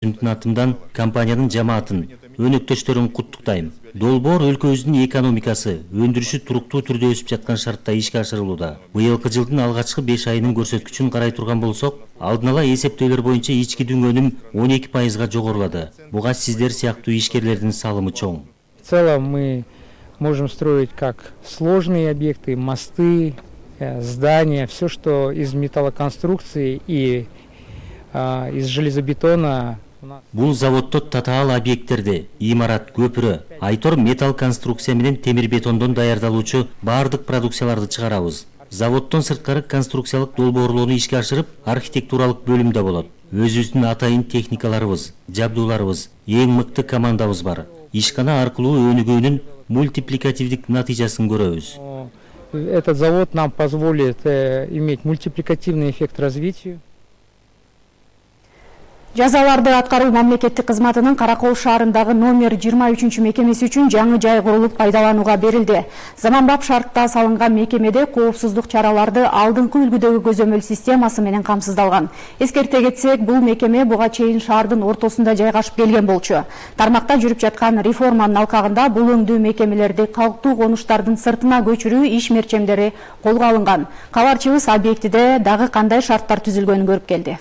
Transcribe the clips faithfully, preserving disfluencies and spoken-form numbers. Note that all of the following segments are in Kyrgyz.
Өзүмдүн атымдан компаниянын жамаатын, өнөктөштөрүн куттуктайм. Долбоор өлкөбүздүн экономикасы, өндүрүшү туруктуу түрдө өсүп жаткан шартта ишке ашырылууда. Быйылкы жылдын алгачкы беш айынын көрсөткүчүн карай турган болсок, алдын ала эсептөөлөр боюнча ички дүң өнүм он эки пайызга жогорулады. Буга сиздер сыяктуу ишкерлердин салымы чоң. В целом мы можем строить как сложные объекты, мосты, здания, все, что из металлоконструкции и а, из железобетона. Бул заводдо татаал объекттерди, имарат, көпүрө, айтор металл конструкция менен темир бетондон даярдалуучу баардык продукцияларды чыгарабыз. Заводдон сырткары конструкциялык долбоорлоону ишке ашырып, архитектуралык бөлүм да болот. Өзүбүздүн атайын техникаларыбыз, жабдууларыбыз, эң мыкты командабыз бар. Ишкана аркылуу өнүгүүнүн мультипликативдик натыйжасын көрөбүз. Этот завод нам позволит э, иметь мультипликативный эффект развитию. Жазаларды аткаруу мамлекеттик кызматынын Каракол шаарындагы номер жыйырма үчүнчү мекемеси үчүн жаңы жай курулуп пайдаланууга берилди. Заманбап шартта салынган мекемеде коопсуздук чараларды алдыңкы үлгүдөгү көзөмөл системасы менен камсыздалган. Эскерте кетсек, бул мекеме буга чейин шаардын ортосунда жайгашып келген болчу. Тармакта жүрүп жаткан реформанын алкагында бул өңдүү мекемелерди калктуу конуштардын сыртына көчүрүү иш мерчемдери колго алынган. Кабарчыбыз объектиде дагы кандай шарттар түзүлгөнүн көрүп келди.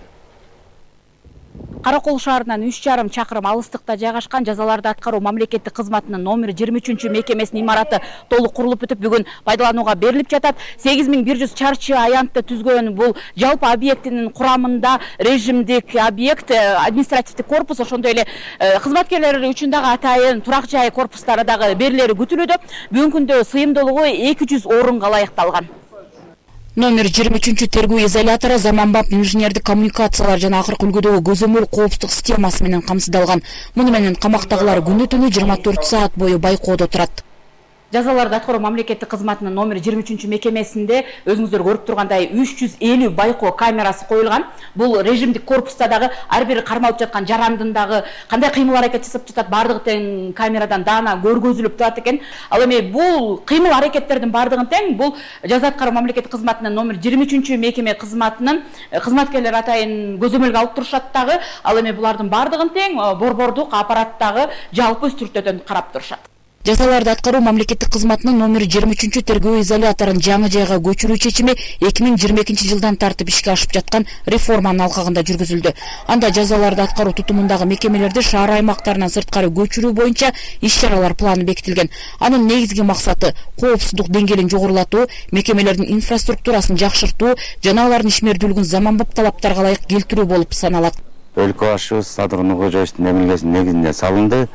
Каракол шаарынан үч жарым чакырым алыстыкта жайгашкан жазаларды аткаруу мамлекеттик кызматынын номер жыйырма үчүнчү мекемесинин имараты толук курулуп бүтүп, бүгүн пайдаланууга берилип жатат. сегиз миң бир жүз чарчы аянтты түзгөн бул жалпы объектинин курамында режимдик объект, административдик корпус, ошондой эле кызматкерлер үчүн дагы атайын турак жай корпустары дагы берилери күтүлүүдө. Бүгүнкү күндө сыйымдуулугу эки жүз орунга ылайыкталган. Номер жыйырма үчүнчү тергөө изолятору заманбап инженердик коммуникациялар жана акыркы үлгүдөгү көзөмөл коопсуздук системасы менен камсыздалган. Муну менен камактагылар күнү түнү жыйырма төрт саат бою байкоодо турат. Жазаларды аткаруу мамлекеттик кызматынын номер жыйырма үчүнчү мекемесинде өзүңүздөр көрүп тургандай үч жүз элүү байкоо камерасы коюлган. Бул режимдик корпуста дагы ар бир кармалып жаткан жарандын дагы кандай кыймыл аракет жасап жатат, бардыгы тең камерадан даана көргөзүлүп турат экен. Ал эми бул кыймыл аракеттердин бардыгын тең бул жаза аткаруу мамлекеттик кызматынын номер жыйырма үчүнчү мекеме кызматынын кызматкерлери атайын көзөмөлгө алып турушат дагы. Ал эми булардын бардыгын тең борбордук аппараттагы жалпы үстүртөдөн карап турушат. Жазаларды аткаруу мамлекеттик кызматынын номер жыйырма үчүнчү тергөө изоляторун жаңы жайга көчүрүү чечими эки миң жыйырма экинчи жылдан тартып ишке ашып жаткан реформанын алкагында жүргүзүлдү. Анда жазаларды аткаруу тутумундагы мекемелерди шаар аймактарынан сырткары көчүрүү боюнча иш-чаралар планы бекитилген. Анын негизги максаты коопсуздук деңгээлин жогорулатуу, мекемелердин инфраструктурасын жакшыртуу жана алардын ишмердүүлүгүн заманбап талаптарга ылайык келтирүү болуп саналат. Өлкө башчыбыз Садыр Нуркожоевдун эмилгесинин негизинде салынды.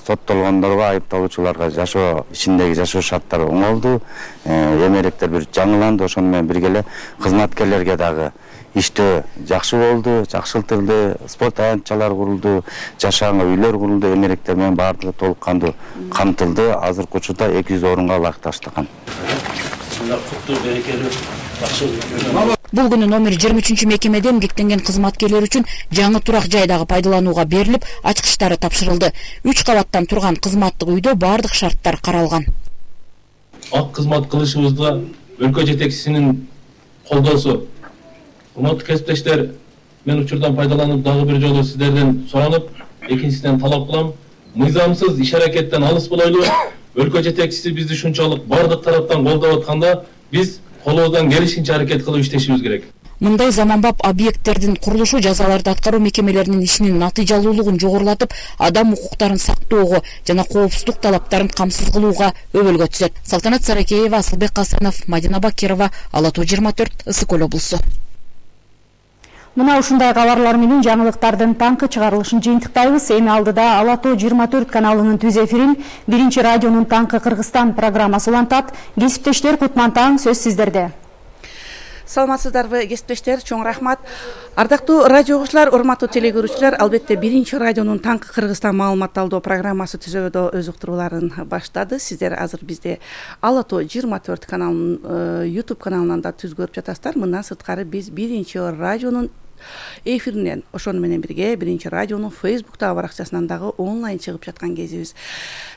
Соттолгондорго, айыпталуучуларга жашоо ичиндеги жашоо шарттары оңолду. Эмеректер бир жаңыланды. Ошону менен бирге эле кызматкерлерге дагы иштөө жакшы болду, жакшыртылды. Спорт аянтчалар курулду, жашааңа үйлөр курулду. Эмеректер менен баардыгы толук кандуу камтылды. Азыркы учурда эки жүз орунга ылайыкташтырган. Бул күнү номер жыйырма үчүнчү мекемеде эмгектенген кызматкерлер үчүн жаңы турак жай дагы пайдаланууга берилип, ачкычтары тапшырылды. үч кабаттан турган кызматтык үйдө бардык шарттар каралган. Ак кызмат кылышыбызда өлкө жетекчисинин колдоосу. Урматтуу кесиптештер, мен учурдан пайдаланып дагы бир жолу сиздерден суранып, экинчисинен талап кылам. Мыйзамсыз иш аракеттен алыс болойлу. Өлкө жетекчиси бизди ушунчалык бардык тараптан колдоп атканда, биз колубуздан келишинче аракет кылып иштешибиз керек. Мындай заманбап объекттердин курулушу жазаларды аткаруу мекемелеринин ишинин натыйжалуулугун жогорулатып, адам укуктарын сактоого жана коопсуздук талаптарын камсыз кылууга өбөлгө түзөт. Салтанат Саракеева, Асылбек Касанов, Мадина Бакирова, Ала Тоо жыйырма төрт, Ысык Көл облусу. Мына ушундай кабарлар менен жаңылыктардын таңкы чыгарылышын жыйынтыктайбыз. Эми алдыда Ала Тоо жыйырма төрт каналынын түз эфирин биринчи радионун Таңкы Кыргызстан программасы улантат. Кесиптештер, кутман таң, сөз сиздерде. Саламатсыздарбы, кесиптештер, чоң рахмат. Ардактуу радио угуучулар, урматтуу телегөрүүчүлөр, албетте биринчи радионун Таңкы Кыргызстан маалымат алуу программасы түзүүдө өз уктурууларын баштады. Сиздер азыр бизде Ала Тоо жыйырма төрт каналынын YouTube каналынан да түз көрүп жатасыздар. Мындан сырткары биз биринчи радионун эфиринен, ошону менен бирге биринчи радионун Facebook'та баракчасынан дагы онлайн чыгып жаткан кезибиз.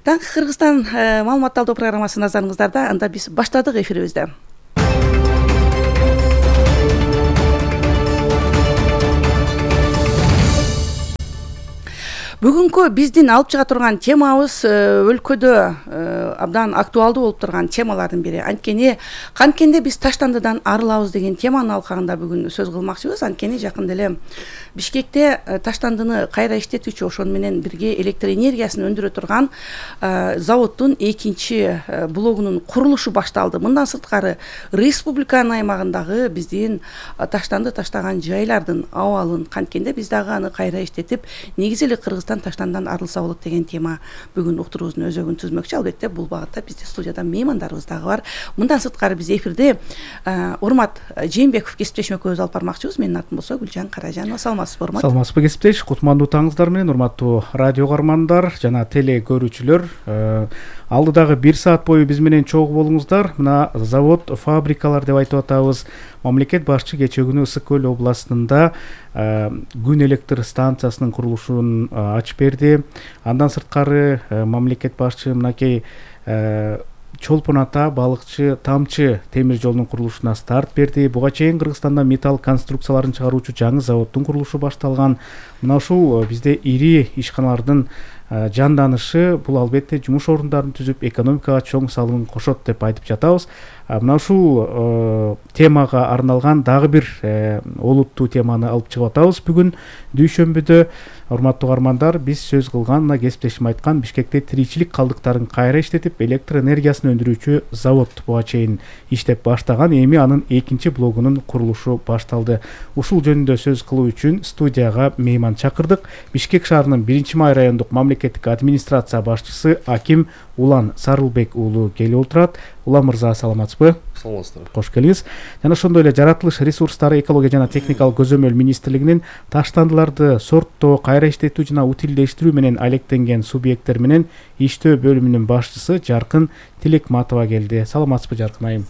Таңкы Кыргызстан маалымат алуу программасы назарыңыздарда. Анда биз баштадык эфирибизди. Бүгүнкү биздин алып чыга турган темабыз өлкөдө абдан актуалдуу болуп турган темалардын бири. Анткени канткенде биз таштандыдан арылабыз деген теманын алкагында бүгүн сөз кылмакчыбыз. Анткени жакында эле Бишкекте таштандыны кайра иштетүүчү, ошону менен бирге электр энергиясын өндүрө турган заводдун экинчи блогунун курулушу башталды. Мындан сырткары республиканын аймагындагы биздин таштанды таштаган жайлардын абалын, канткенде биз дагы аны кайра иштетип, негизи эле Кыргызстан таштандан арылса болот деген тема бүгүн уктуруубуздун өзөгүн түзмөкчү. Албетте бул багытта бизде студияда меймандарыбыз дагы бар. Мындан сырткары биз эфирде Урмат Жээнбеков кесиптешим экөөбүз алып бармакчыбыз. Менин атым болсо Гүлжан Каражанова. Саламатсызбы, Урмат? Саламатсызбы, кесиптеш. Кутмандуу таңыңыздар менен, урматтуу радио кармандар жана теле көрүүчүлөр. Алдыдагы бир саат бою биз менен чогуу болуңуздар. Мына завод, фабрикалар деп айтып атабыз. Мамлекет башчы кечээ күнү Ысык көл областында күн электр станциясынын курулушун ачып берди. Андан сырткары мамлекет башчы мынакей Чолпон ата балыкчы тамчы темир жолунун курулушуна старт берди. Буга чейин Кыргызстанда металл конструкцияларын чыгаруучу жаңы заводдун курулушу башталган. Мына ушул бизде ири ишканалардын жанданышы, бул албетте жумуш орундарын түзүп, экономикага чоң салым кошот деп айтып жатабыз. Мына ушул темага арналган дагы бир олуттуу теманы алып чыгып атабыз. Бүгүн дүйшөмбүдө, урматтуу кармандар, биз сөз кылган, мына кесиптешим айткан, Бишкекте тиричилик калдыктарын кайра иштетип, электр энергиясын өндүрүүчү завод буга чейин иштеп баштаган. Эми анын экинчи блогунун курулушу башталды. Ушул жөнүндө сөз кылуу үчүн студияга мейман чакырдык. Бишкек шаарынын биринчи май райондук мамлекеттик администрация башчысы Аким Улан Сарылбек уулу келип отурат. Улан мырза, саламатсызбы? Саламатсыздар. Кош келиңиз. Жана ошондой эле жаратылыш ресурстары, экология жана техникалык көзөмөл министрлигинин таштандыларды сорттоо, кайра иштетүү жана утилдештирүү менен алектенген субъекттер менен иштөө бөлүмүнүн башчысы Жаркын Тилекматова келди. Саламатсызбы, Жаркын айым?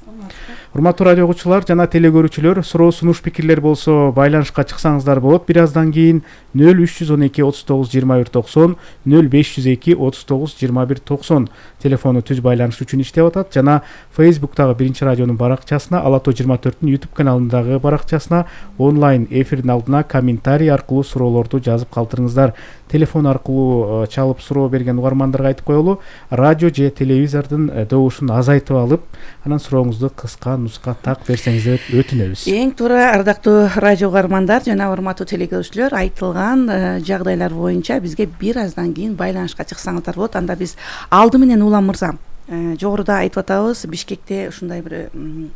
Урматтуу радио угуучулар жана теле көрүүчүлөр, суроо, сунуш, пикирлер болсо байланышка чыксаңыздар болот. Бир аздан кийин нөл үч жүз он эки отуз тогуз жыйырма бир токсон, нөл беш жүз эки отуз тогуз жыйырма бир токсон телефону түз байланыш үчүн иштеп атат. Жана Facebook'тагы биринчи радионун баракчасына, Ала тоо жыйырма төрттүн YouTube каналындагы баракчасына онлайн эфирдин алдына комментарий аркылуу суроолорду жазып калтырыңыздар. Телефон аркылуу чалып суроо берген угармандарга айтып коелу, радио же телевизордун добушун азайтып алып, анан сурооңузду кыска нуска так берсеңиздер өтүнөбүз. Эң туура, ардактуу радио угармандар жана урматтуу телекөрүүчүлөр, айтылган жагдайлар боюнча бизге бир аздан кийин байланышка чыксаңыздар болот. Анда биз алды менен Улан мырза, жогоруда айтып атабыз, Бишкекте ушундай бир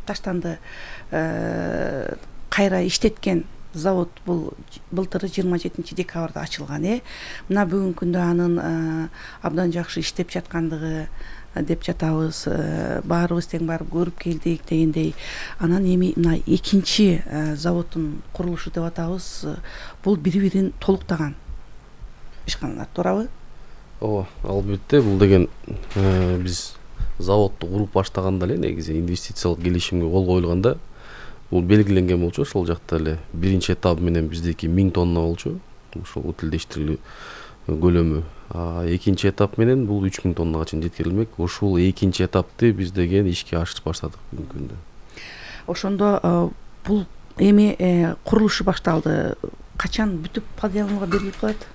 таштанды кайра иштеткен завод бул былтыр жыйырма жетинчи декабрда ачылган. Э мына бүгүнкү күндө анын абдан жакшы иштеп жаткандыгы деп жатабыз. Баарыбыз тең барып көрүп келдик дегендей. Анан эми мына экинчи заводдун курулушу деп атабыз. Бул бири-бирин толуктаган ишканалар, туурабы? Ооба, албетте бул деген биз заводду куруп баштаганда эле негизи инвестициялык келишимге кол коюлганда бул белгиленген болчу. Ошол жакта эле биринчи этап менен биздики миң тонна болчу. Ошол утилдештирилүү көлөмү. А экинчи этап менен бул үч миң тоннага чейин жеткирилмек. Ушул экинчи этапты биз деген ишке ашырып баштадык бүгүнкү күндө. Ошондо бул эми курулушу башталды. Качан бүтүп пайдаланууга берилип калат?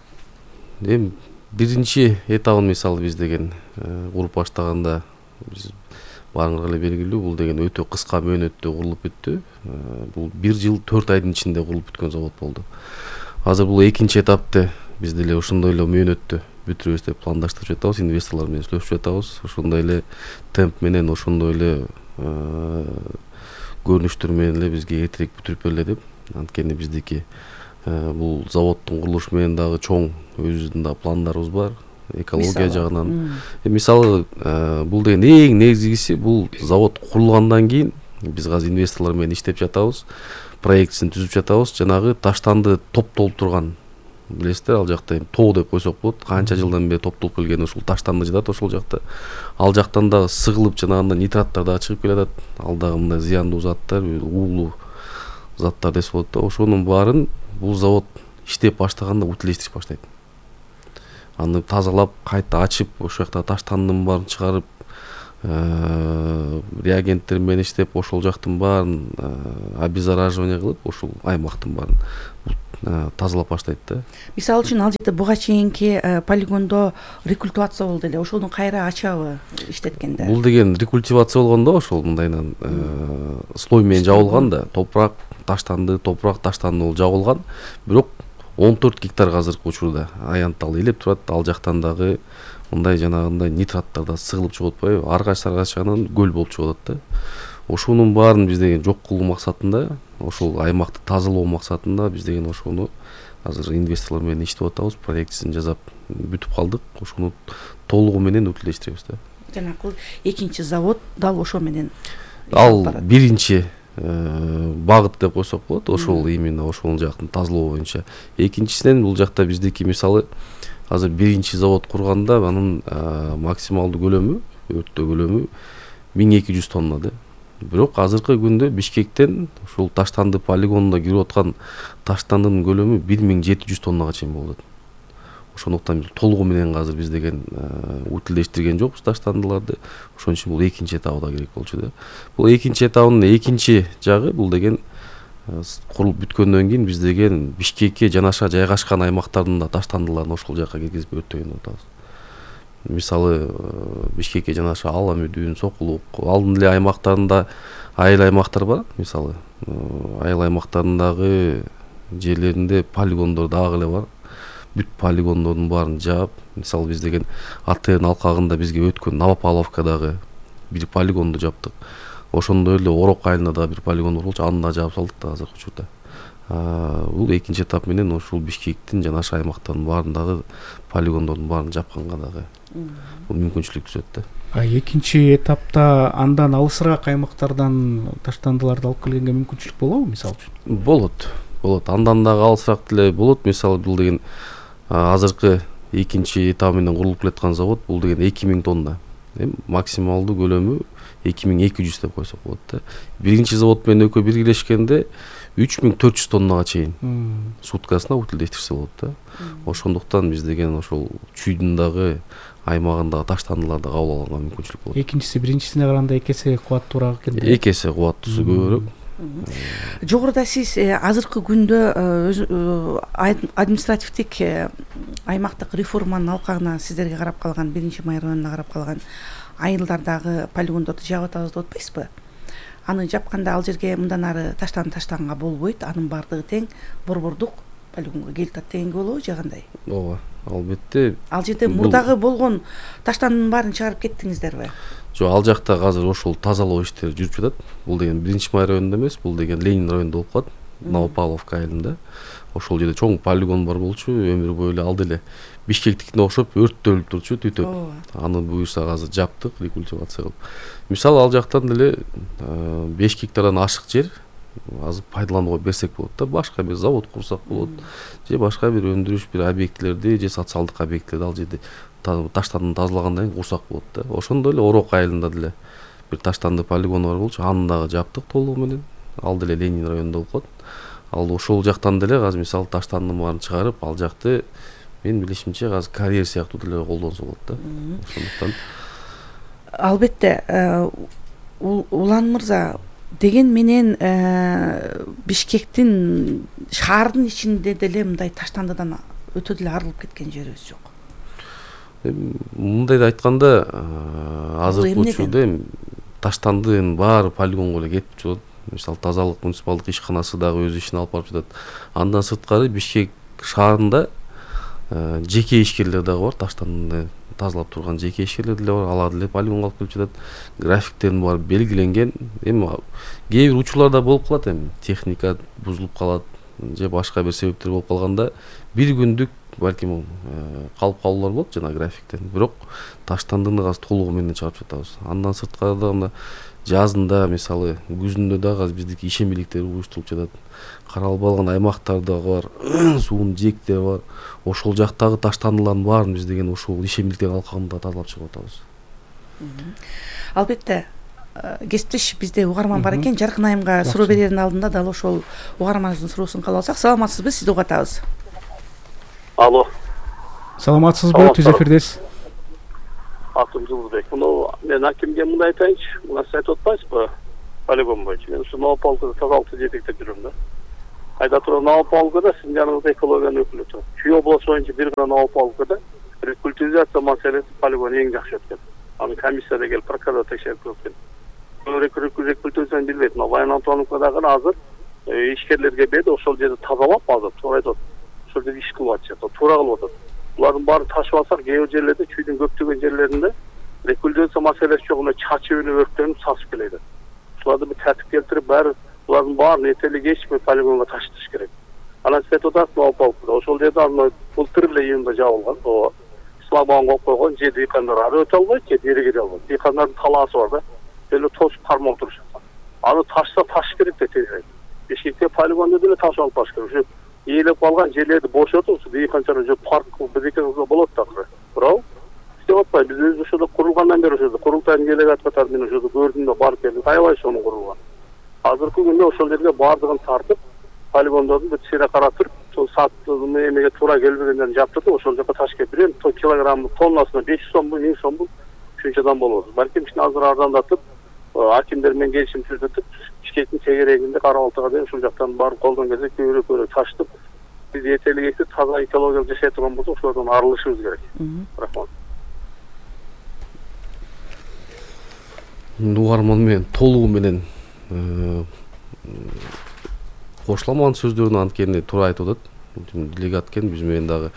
Эми биринчи этабын мисалы биз деген куруп баштаганда биз баарыңарга эле белгилүү, бул деген өтө кыска мөөнөттө курулуп бүттү. Бул бир жыл төрт айдын ичинде курулуп бүткөн завод болду. Азыр бул экинчи этапты биз деле ошондой эле мөөнөттө бүтүрөбүз деп пландаштырып жатабыз, инвесторлор менен сүйлөшүп жатабыз. Ошондой эле темп менен, ошондой эле көрүнүштөр менен эле бизге эртерээк бүтүрүп бериле деп. Анткени биздики бул заводдун курулушу менен дагы чоң өзүбүздүн да пландарыбыз бар. Экология жагынан. Мисалы, бул деген эң негизгиси, бул завод курулгандан кийин биз азыр инвесторлор менен иштеп жатабыз. Проектисин түзүп жатабыз. Жанагы таштанды топтолуп турган, билесиздер, ал жакта тоо деп койсок болот. Канча жылдан бери топтолуп келген ушул таштанды жатат ошол жакта. Ал жактан дагы сыгылып жанагында нитраттар дагы чыгып келатат. Ал дагы мындай зыяндуу заттар, уулуу заттар десе болот да. Ошонун баарын бул завод иштеп баштаганда утилдештирип баштайт. Аны тазалап, кайта ачып, ошол жакта таштандын баарын чыгарып, реагенттер менен иштеп, ошол жактын баарын обеззараживание кылып, ошол аймактын баарын тазалап баштайт да. Мисалы үчүн ал жерде буга чейинки полигондо рекультивация болду эле, ошону кайра ачабы иштеткенде? Бул деген рекультивация болгондо ошол мындайынан слой менен жабылган да, топурак таштанды, топурак таштанды болуп жабылган. Бирок он төрт гектар азыркы учурда аянттал элеп турат. Ал жактан дагы мындай жанагындай нитраттар да сыгылып чыгып атпайбы? Аргач саргачынан көл болуп чыгып атат да. Ошонун баарын биз деген жок кылуу максатында, ошол аймакты тазалоо максатында биз деген ошону азыр инвесторлор менен иштеп атабыз, проектисин жасап бүтүп калдык. Ошону толугу менен өтүлдөштүрөбүз да. Жанагы экинчи завод дал ошо менен ал биринчи багыт деп койсок болот. Ошол именно ошол жактын тазалоо боюнча. Экинчисинен бул жакта биздики мисалы азыр биринчи завод курганда анын максималдуу көлөмү, өрттөө көлөмү миң эки жүз тонна да. Бирок азыркы күндө Бишкектен ушул таштанды полигонуна кирип аткан таштандынын көлөмү бир миң жети жүз тоннага чейин болот. Ошондуктан толугу менен азыр биз деген утилдештирген жокпуз таштандыларды. Ошон үчүн бул экинчи этабы да керек болчу да. Бул экинчи этабынын экинчи жагы бул деген курулуп бүткөндөн кийин биз деген Бишкекке жанаша жайгашкан аймактардын да таштандыларын ошол жакка киргизип өрттөгөн деп атабыз. Мисалы Бишкекке жанаша Ала Мүдүн, Сокулук, алдын эле аймактарында айыл аймактар бар. Мисалы айыл аймактарындагы жерлеринде полигондор дагы эле бар. Бүт полигондордун баарын жаап, мисалы биз деген АТРдин алкагында бизге өткөн Новопавловкадагы бир полигонду жаптык. Ошондой эле Орок айылында дагы бир полигон бар болчу, аны да жаап салдык да азыркы учурда. Бул экинчи этап менен ушул Бишкектин жанаша аймактарынын баарындагы полигондордун баарын жапканга дагы бул мүмкүнчүлүк түзөт да. А экинчи этапта андан алысыраак аймактардан таштандыларды алып келгенге мүмкүнчүлүк болобу мисалы үчүн? Болот. Болот. Андан дагы алысыраак деле болот. Мисалы бул деген азыркы экинчи этап менен курулуп келаткан завод бул деген эки миң тонна. Эми максималдуу көлөмү эки миң эки жүз деп койсок болот да. Биринчи завод менен экөө биргелешкенде үч миң төрт жүз тоннага чейин суткасына утилдештирсе болот да. Ошондуктан биз деген ошол чүйдүн дагы аймагындагы таштандыларды кабыл алганга мүмкүнчүлүк болот. Экинчиси биринчисине караганда эки эсе кубаттуураак экен. Эки эсе кубаттуусу көбүрөөк. Жогоруда сиз азыркы күндө административдик аймактык реформанын алкагына сиздерге карап калган, биринчи май районуна карап калган айылдардагы полигондорду жаап атабыз деп атпайсызбы? Аны жапканда ал жерге мындан ары таштан таштаганга болбойт, анын баардыгы тең борбордук полигонго келип атат дегенге болобу же кандай? Ооба, албетте. Ал жерде мурдагы болгон таштандын баарын чыгарып кеттиңиздерби? Жок, ал жакта азыр ошол тазалоо иштери жүрүп жатат. Бул деген биринчи май районунда эмес, бул деген Ленин районунда болуп калат. Новопавловка айылында. Ошол жерде чоң полигон бар болчу, өмүр бою эле алды эле Бишкектикине окшоп өрттөлүп турчу, түтөп. Аны буюрса азыр жаптык, рекультивация кылып. Мисалы ал жактан деле беш гектардан ашык жер азыр пайдаланууга берсек болот да, башка бир завод курсак болот, же башка бир өндүрүш бир объектлерди, же социалдык объекттерди ал жерде таштандын тазалагандан кийин курсак болот да. Ошондой эле Орок айылында деле бир таштанды полигону бар болчу, аны дагы жаптык толугу менен. Ал деле Ленин районунда болуп калат. Ал ошол жактан деле азыр мисалы таштандын баарын чыгарып, ал жакты мен билишимче азыр карьер сыяктуу деле колдонсо болот да. Ошондуктан албетте Улан мырза, деген менен Бишкектин шаардын ичинде деле мындай таштандыдан өтө деле арылып кеткен жерибиз жок. Мындайды айтканда азыркы учурда эми таштандынын баары полигонго эле кетип жатат. Мисалы тазалык муниципалдык ишканасы дагы өз ишин алып барып жатат. Андан сырткары Бишкек шаарында жеке ишкерлер дагы бар, таштанды тазалап турган жеке ишкерлер деле бар, алар деле полигонго алып келип жатат. Графиктерин баары белгиленген. Эми кээ бир учурларда болуп калат, эми техника бузулуп калат, же башка бир себептер болуп калганда бир күндүк балким калып калуулар болот жана графиктен. Бирок таштандыны азыр толугу менен чыгарып жатабыз. Андан сырткары да мына жазында, мисалы күзүндө дагы азыр биздики ишембиликтер уюштурулуп жатат. Каралбалган аймактар дагы бар, суунун жээктери бар. Ошол жактагы таштандылардын баарын биз деген ошол ишембиликтер алкагында тазалап чыгып атабыз. Албетте, кесиптеш бизде угарман бар экен. Жаркын айымга суроо берердин алдында дал ошол угарманыбыздын суроосун кабыл алсак. Саламатсызбы? Сизди угуп атабыз. Алло. Саламатсызбы? Түз эфирдесиз. Атым Жылдыбек. Муну мен акимге мындай айтайынчы, мына сиз айтып атпайсызбы? Полигон боюнча. Мен ушу Новопавловкада тазалыкты жетектеп жүрөм да. Айда турган Новополкада сиздин жаныңызда экологиянын өкүлү турат. Чүй обласу боюнча бир гана Новополкада рекультивизация маселеси полигон эң жакшы өткөн. Аны комиссияда келип прокурор текшерип өткөн. Рекультивизацияны билбейт. Баян Антоновкадагы азыр ишкерлерге берди, ошол жерди тазалап азыр туура айтат. Ошол жерде иш кылып атышат, туура кылып атат. Булардын баарын ташып алсак, кээ бир жерлерде чүйдүн көптөгөн жерлеринде рекультивация маселеси жок, эмне чачыбыны өрттөнүп сасып келет. Буларды бир тартип келтирип, баары булардын баарын этели кечпей полигонго таштыш керек. Анан сиз айтып атасыз Новополкада, ошол жерде аны былтыр эле июнда жабылган, ооба. Слагбан коюп койгон, же дыйкандар ары өтө албайт, же бери кире албайт. Дыйкандардын талаасы бар да, эле тосуп кармап турушат. Аны ташса таш керек да тезирээк. Бишкекте полигонда деле ташып алып баш керек. Ушу ээлеп калган жерлерди бошотуп, ушу дыйканчалар уже парк бизеке кылса болот да акыры. Туурабы? Иштеп атпайбы? Биз өзү ошодо курулгандан бери ошодо курултайдын делегат катары мен ошодо көрдүм да барып келдим. Аябай сонун курулган. Азыркы күндө ошол жерге баардыгын тартып, полигондордун бүт сыйра каратып, сол саттын эмеге туура келбегендерин жаптырып, ошол жака таш келип бир килограмм тоннасына беш жүз сомбу, миң сомбу ушунчадан болот. Балким ишин азыр арзандатып, акимдер менен келишим түзүтүп, Бишкектин чегерегинде Кара Балтага дейин ушул жактан барып колдон келсе көбүрөөк көбүрөөк таштып, биз этелик таза экологиялык жашай турган болсок, ошолордон арылышыбыз керек. Рахмат. Угарман менен толугу менен кошулам анын сөздөрүнө, анткени туура айтып атат. Делегат экен, биз менен дагы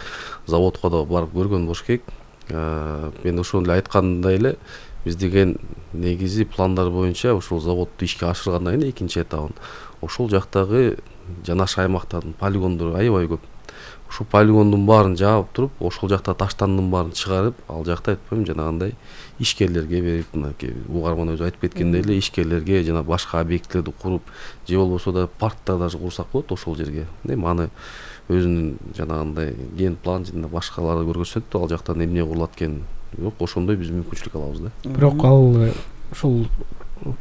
заводко да барып көргөн болуш керек. Мен ошону эле айткандай эле, биз деген негизи пландар боюнча ошол заводду ишке ашыргандан кийин экинчи этабын ошол жактагы жанаш аймактардын полигондору аябай көп. Ушул полигондун баарын жаап туруп, ошол жакта таштандын баарын чыгарып, ал жакта айтпайм жанагындай ишкерлерге берип, мынакей угарман өзү айтып кеткендей эле ишкерлерге жана башка объектилерди куруп, же болбосо да парктар даже курсак болот ошол жерге. Эми аны өзүнүн жанагындай ген план жана башкалары көргөзсөт, ал жактан эмне курулат экенин. Бирок ошондой биз мүмкүнчүлүк алабыз да. Бирок ал ошол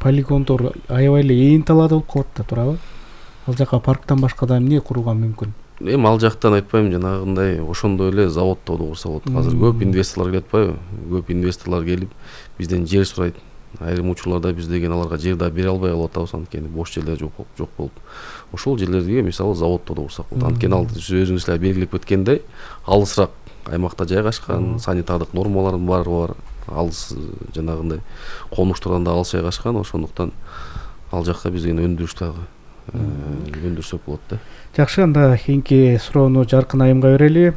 полигондор аябай эле ээн талаада болуп калат да, туурабы? Ал жака парктан башка да эмне курууга мүмкүн? Эми ал жактан айтпайм, жанагындай ошондой эле заводду курса болот. Азыр көп инвесторлор келип атпайбы? Көп инвесторлор келип бизден жер сурайт. Айрым учурларда биз деген аларга жер да бере албай калып атабыз, анткени бош жерлер жок жок болуп. Ошол жерлерге мисалы заводду курсак болот. Анткени ал өзүңүз эле белгилеп кеткендей, алысыраак аймакта жайгашкан, санитардык нормалардын баары бар. Алыс жанагындай конуштардан да алыс жайгашкан, ошондуктан ал жакка биз деген өндүрүш дагы өндүрсөк болот да. Жакшы, анда кийинки суроону Жаркын айымга берели.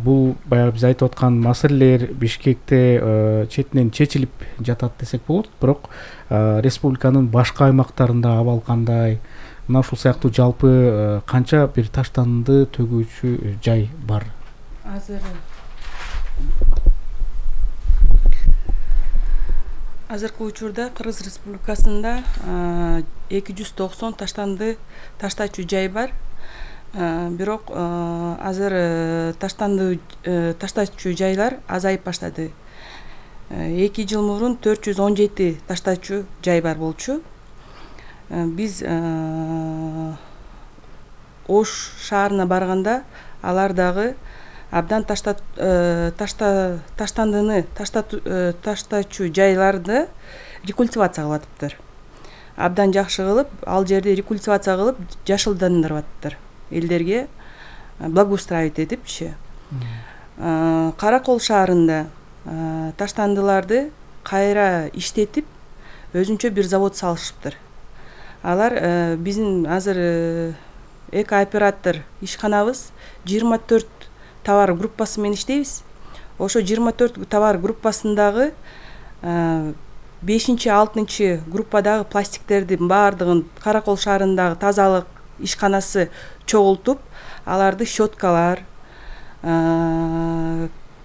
Бул баягы биз айтып аткан маселелер Бишкекте четинен чечилип жатат десек болот, бирок республиканын башка аймактарында абал кандай? Мына ушул сыяктуу жалпы канча бир таштанды төгүүчү жай бар? Азыр Азыркы учурда Кыргыз Республикасында эки жүз токсон таштанды таштачу жай бар. Бирок азыр таштанды таштачу жайлар азайып баштады. эки жыл мурун төрт жүз он жети таштачу жай бар болчу. Биз Ош шаарына барганда алар дагы абдан ташта ташта таштандыны таштачу жайларды рекультивация кылып атыптыр. Абдан жакшы кылып, ал жерди рекультивация кылып жашылдандырып атыптыр. Элдерге благоустраивать этипчи. Каракол шаарында таштандыларды кайра иштетип, өзүнчө бир завод салышыптыр. Алар биздин азыр эко-оператор ишканабыз жыйырма төрт товар группасы менен иштейбиз. Ошо жыйырма төрт товар группасындагы бешинчи алтынчы группадагы пластиктердин баардыгын Каракол шаарындагы тазалык ишканасы чогултуп, аларды щеткалар,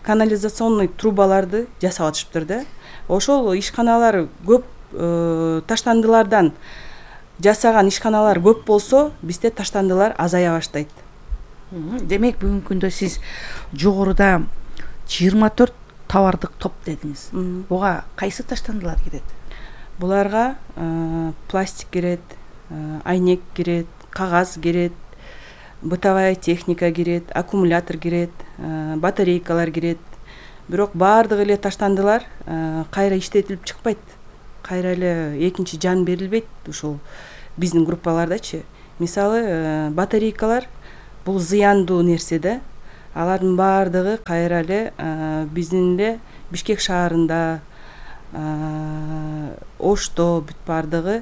канализационный трубаларды жасап атышыптыр да. Ошол ишканалар көп таштандылардан жасаган ишканалар көп болсо, бизде таштандылар азая баштайт. Демек бүгүнкү күндө сиз жогоруда жыйырма төрт товардык топ дедиңиз. Буга кайсы таштандылар кирет? Буларга пластик кирет, айнек кирет, кагаз кирет, бытовая техника кирет, аккумулятор кирет, батарейкалар кирет. Бирок баардыгы эле таштандылар кайра иштетилип чыкпайт. Кайра эле экинчи жан берилбейт ушул биздин группалардачы. мисалы батарейкалар бул зыяндуу нерсе да. Алардын баардыгы кайра эле биздин эле Бишкек шаарында, Ошто бүт баардыгы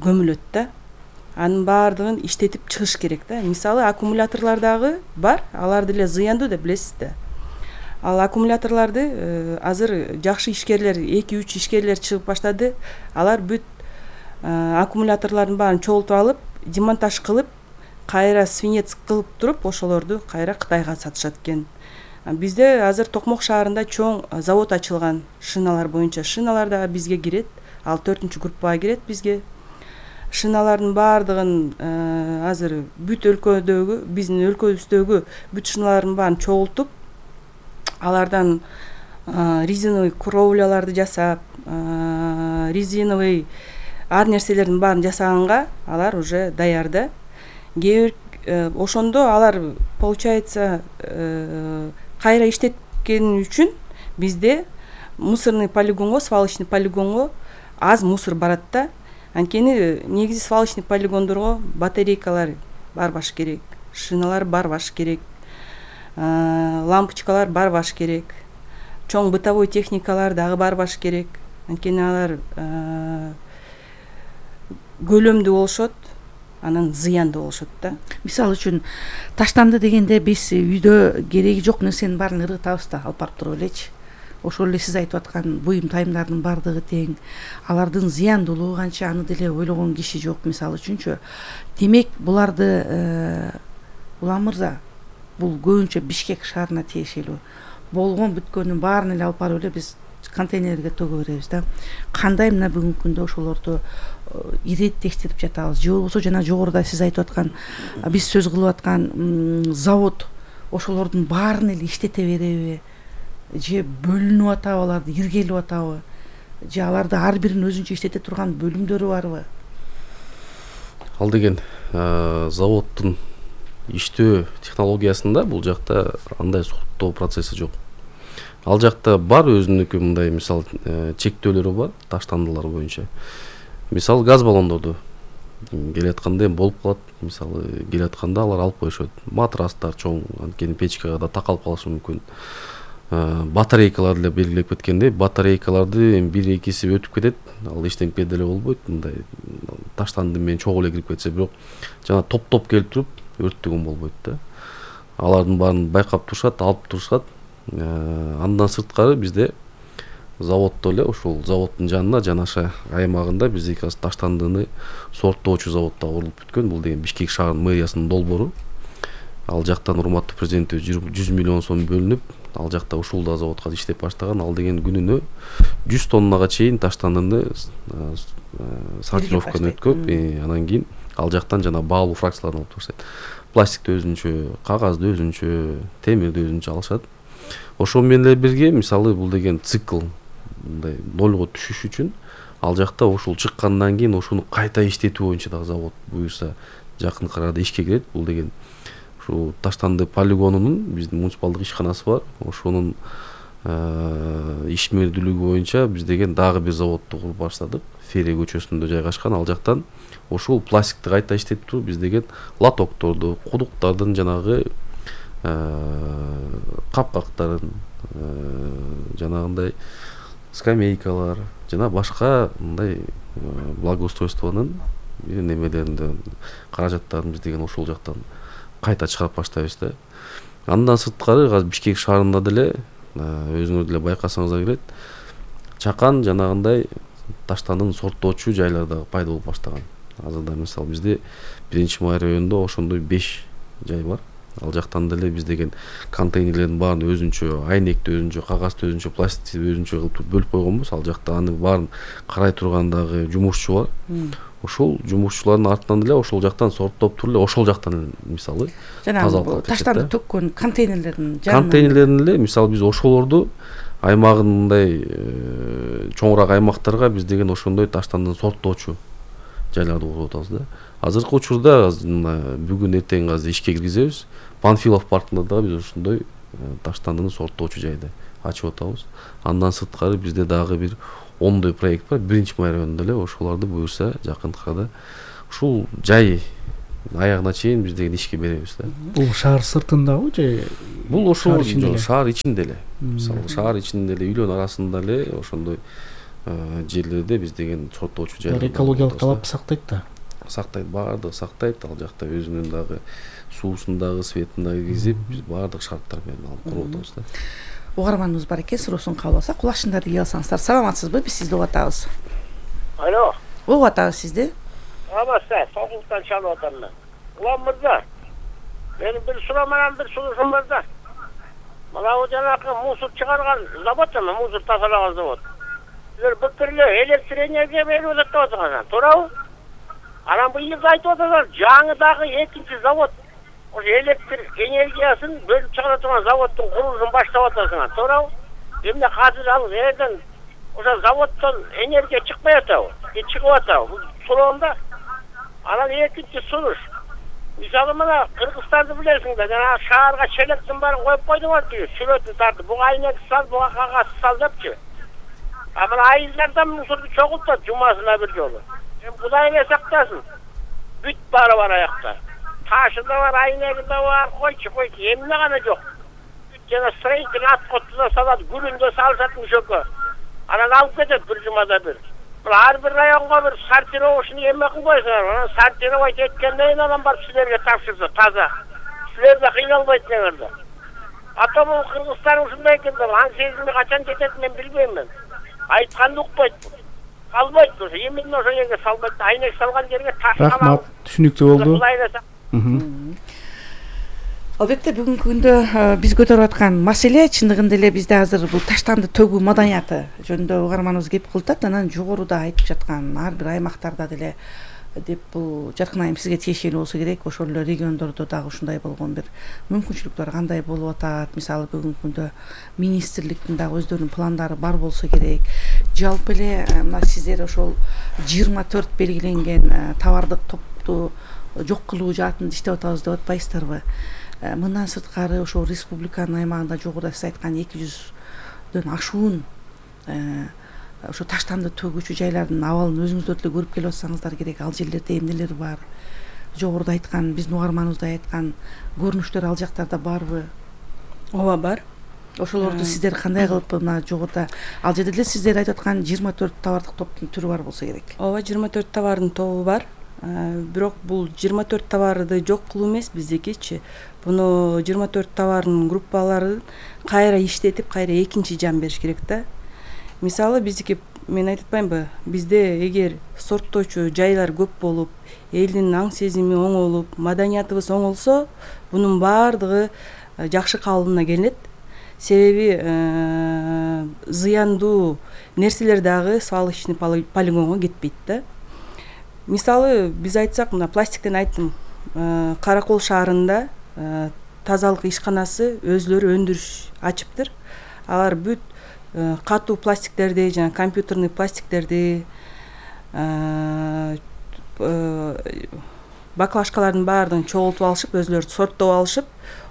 көмүлөт да. Анын баардыгын иштетип чыгыш керек да. Мисалы аккумуляторлор дагы бар, алар деле зыяндуу деп билесиз да. Ал аккумуляторлорду азыр жакшы ишкерлер, эки үч ишкерлер чыгып баштады. Алар бүт аккумуляторлордун баарын чогултуп алып, демонтаж кылып, кайра свинец кылып туруп, ошолорду кайра Кытайга сатышат экен. Бизде азыр Токмок шаарында чоң завод ачылган шиналар боюнча. Шиналар дагы бизге кирет, ал төртүнчү группага кирет бизге. Шиналардын баардыгын азыр бүт өлкөдөгү, биздин өлкөбүздөгү бүт шиналардын баарын чогултуп, алардан резиновый кровляларды жасап, резиновый ар нерселердин баарын жасаганга алар уже даяр да. Кээ бир ошондо алар получается кайра иштеткени үчүн бизде мусорный полигонго, свалочный полигонго аз мусор барат да. Анткени негизи свалочный полигондорго батарейкалар барбаш керек, шиналар барбаш керек, лампочкалар барбаш керек, чоң бытовой техникалар дагы барбаш керек. Анткени алар көлөмдүү болушот, анан зыяндуу болушот да. Мисалы үчүн таштанды дегенде биз үйдө кереги жок нерсенин баарын ыргытабыз да, алып барып туруп элечи. Ошол эле сиз айтып аткан буюм тайымдардын баардыгы тең. Алардын зыяндуулугу канча, аны деле ойлогон киши жок мисалы үчүнчү. Демек буларды Улан мырза, бул көбүнчө Бишкек шаарына тиешелүү. Болгон бүткөнүн баарын эле алып барып эле биз контейнерге төгө беребиз да. Кандай мына бүгүнкү күндө ошолорду ирет текшерип жатабыз? Же болбосо жана жогоруда сиз айтып аткан, биз сөз кылып аткан завод ошолордун баарын эле иштете береби? Же бөлүнүп атабы, аларды иргелип атабы? Же аларды ар бирин өзүнчө иштете турган бөлүмдөрү барбы? Ал деген заводдун иштөө технологиясында бул жакта андай суруктоо процесси жок. Ал жакта бар өзүнүкү мындай мисал чектөөлөрү бар таштандылар боюнча. Мисал газ баллондорду келатканда болуп калат, мисалы келатканда алар алып коюшат. Матрастар чоң, анткени печкага да такалып калышы мүмкүн. Батарейкалар деле белгилеп кеткендей, батарейкаларды бир экиси өтүп кетет, ал эчтеке деле болбойт. Мындай таштанды менен чогуу эле кирип кетсе, бирок жана топ-топ келип туруп өрттөгөн болбойт да. Алардын баарын байкап турушат, алып турушат. Андан сырткары бизде заводдо эле ошол заводдун жанына жанаша аймагында биздики азыр таштандыны сорттоочу завод да курулуп бүткөн. Бул деген Бишкек шаарынын мэриясынын долбоору. Ал жактан урматтуу президентибиз жүз миллион сом бөлүнүп, ал жакта ушул да заводко иштеп баштаган. Ал деген күнүнө жүз тоннага чейин таштандыны сортировкадан өткөп, анан кийин ал жактан жана баалуу фракцияларын алып турушат. Пластикти өзүнчө, кагазды өзүнчө, темирди өзүнчө алышат. Ошол менен эле бирге мисалы бул деген цикл мындай нолго түшүш үчүн ал жакта ушул чыккандан кийин ошону кайта иштетүү боюнча дагы завод буюрса жакын арада ишке кирет. Бул деген ушул таштанды полигонунун биздин муниципалдык ишканасы бар. Ошонун ишмердүүлүгү боюнча биз деген дагы бир заводду куруп баштадык. Ферия көчөсүндө жайгашкан. Ал жактан ушул пластикти кайта иштетип туруп биз деген лотокторду, кудуктардын жанагы капкактарын, жанагындай скамейкалар жана башка мындай благоустройствонун немелеринде каражаттарын биз деген ошол жактан кайта чыгарып баштайбыз да. Андан сырткары азыр Бишкек шаарында деле өзүңөр деле байкасаңыздар келет, чакан жанагындай таштандын сорттоочу жайлар дагы пайда болуп баштаган. Азырда мисалы бизде биринчи май районунда ошондой беш жай бар. Ал жактан деле биз деген контейнерлердин баарын өзүнчө, айнекти өзүнчө, кагазды өзүнчө, пластикти өзүнчө кылып бөлүп койгонбуз. Ал жакта аны баарын карай турган дагы жумушчу бар. Ошол жумушчулардын артынан деле ошол жактан сорттоп туруп эле ошол жактан мисалы жана таштанды төккөн контейнерлердин контейнерлерин эле мисалы биз ошолорду аймагын мындай чоңураак аймактарга биз деген ошондой таштандын сорттоочу жайларды куруп атабыз да. Азыркы учурда бүгүн эртең азыр ишке киргизебиз. Панфилов паркында дагы биз ошондой таштандыны сорттоочу жайды ачып атабыз. Андан сырткары бизде дагы бир ондой проект бар. Биринчи май районунда эле ошолорду буюрса жакын арада ушул жай аягына чейин биз деген ишке беребиз да. Бул шаар сыртындабы же бул ошол ичинде эле? шаар ичинде эле. Мисалы шаар ичинде эле үйлөрдүн арасында эле ошондой жерлерде биз деген соттоочу жайлар. Экологиялык талап сактайт да. Сактайт, баардыгы сактайт. Ал жакта өзүнүн дагы суусун дагы, светин дагы киргизип, биз баардык шарттар менен алып куруп атабыз да. Угарманыбыз бар экен, суроосун кабыл алсак, кулачындарды кие алсаңыздар. Саламатсызбы? Биз сизди угуп атабыз. Алло. Угуп атабыз сизди. Саламатсыздар, Сокулуктан чалып атам мен. Улам мырза, менин бир суроом менен бир сунушум бар да. Мына бул жанакы мусор чыгарган завод эме, мусор тазалаган завод. Силер былтыр эле электр энергия берип атат деп атасыңар, туурабы? Анан быйыл айтып атасыңар, жаңы дагы экинчи завод ошо электр энергиясын бөлүп чыгара турган заводдун курулушун баштап атасыңар, туурабы? Эмне азыр ал жерден ошо заводдон энергия чыкпай атабы? Же чыгып атабы? Бул суроомда. Анан экинчи сунуш. Мисалы мына Кыргызстанды билесиңер, жана шаарга челектин баарын коюп койдуңар дейби, сүрөтүн тартып, буга айнек сал, буга кагаз сал депчи. А мына айылдардан мусорду чогултат жумасына бир жолу. Эми Кудай эле сактасын. Бүт баары бар аякта. Ташы да бар, айнеги да бар, койчу койчу, эмне гана жок. Бүт жана строитель аткоту да салат, гүлүн да салышат мушөккө. Анан алып кетет бир жумада бир. Ар бир районго бир сортировочный эме кылып койсоңор, анан сортировать эткенден кийин анан барып силерге тапшырса таза. Силер да кыйналбайт деңерде. Ата бул Кыргызстан ушундай экен да, аң сезими качан жетет мен билбейм мен. Айтканды укпайт. Калбайт ошо, именно ошо жерге салбайт, айнек салган жерге таш калат. Рахмат, түшүнүктүү болду. Албетте бүгүнкү күндө биз көтөрүп аткан маселе чындыгында эле бизде азыр бул таштанды төгүү маданияты жөнүндө угарманыбыз кеп кылтат, анан жогоруда айтып жаткан ар бир аймактарда деле деп бул Жаркын айым сизге тиешелүү болсо керек. Ошол эле региондордо дагы ушундай болгон бир мүмкүнчүлүктөр кандай болуп атат? Мисалы бүгүнкү күндө министрликтин дагы өздөрүнүн пландары бар болсо керек. Жалпы эле мына сиздер ошол жыйырма төрт белгиленген товардык топту жок кылуу жаатында иштеп атабыз деп атпайсыздарбы? Мындан сырткары ошол республиканын аймагында жогоруда сиз айткан эки жүздөн ашуун ошо таштанды төгүүчү жайлардын абалын өзүңүздөр деле көрүп келип атсаңыздар керек. Ал жерлерде эмнелер бар? Жогоруда айткан, биздин угарманыбызда айткан көрүнүштөр ал жактарда барбы? Ооба, бар. Ошолорду сиздер кандай кылып мына жогоруда ал жерде деле сиздер айтып аткан жыйырма төрт товардык топтун түрү бар болсо керек? Ооба, жыйырма төрт товардын тобу бар. Бирок бул жыйырма төрт товарды жок кылуу эмес биздикичи. Буну жыйырма төрт товардын группаларын кайра иштетип, кайра экинчи жан бериш керек да. Мисалы биздики, мен айтып атпаймынбы, бизде эгер сорттоочу жайлар көп болуп, элдин аң сезими оңолуп, маданиятыбыз оңолсо, бунун баардыгы жакшы калыбына келет. Себеби зыяндуу нерселер дагы свалочный полигонго кетпейт да. Мисалы биз айтсак, мына пластиктен айттым, Каракол шаарында тазалык ишканасы өзлөрү өндүрүш ачыптыр. Алар бүт катуу пластиктерди жана компьютерный пластиктерди, баклажкалардын баардыгын чогултуп алышып, өзлөрү сорттоп алышып,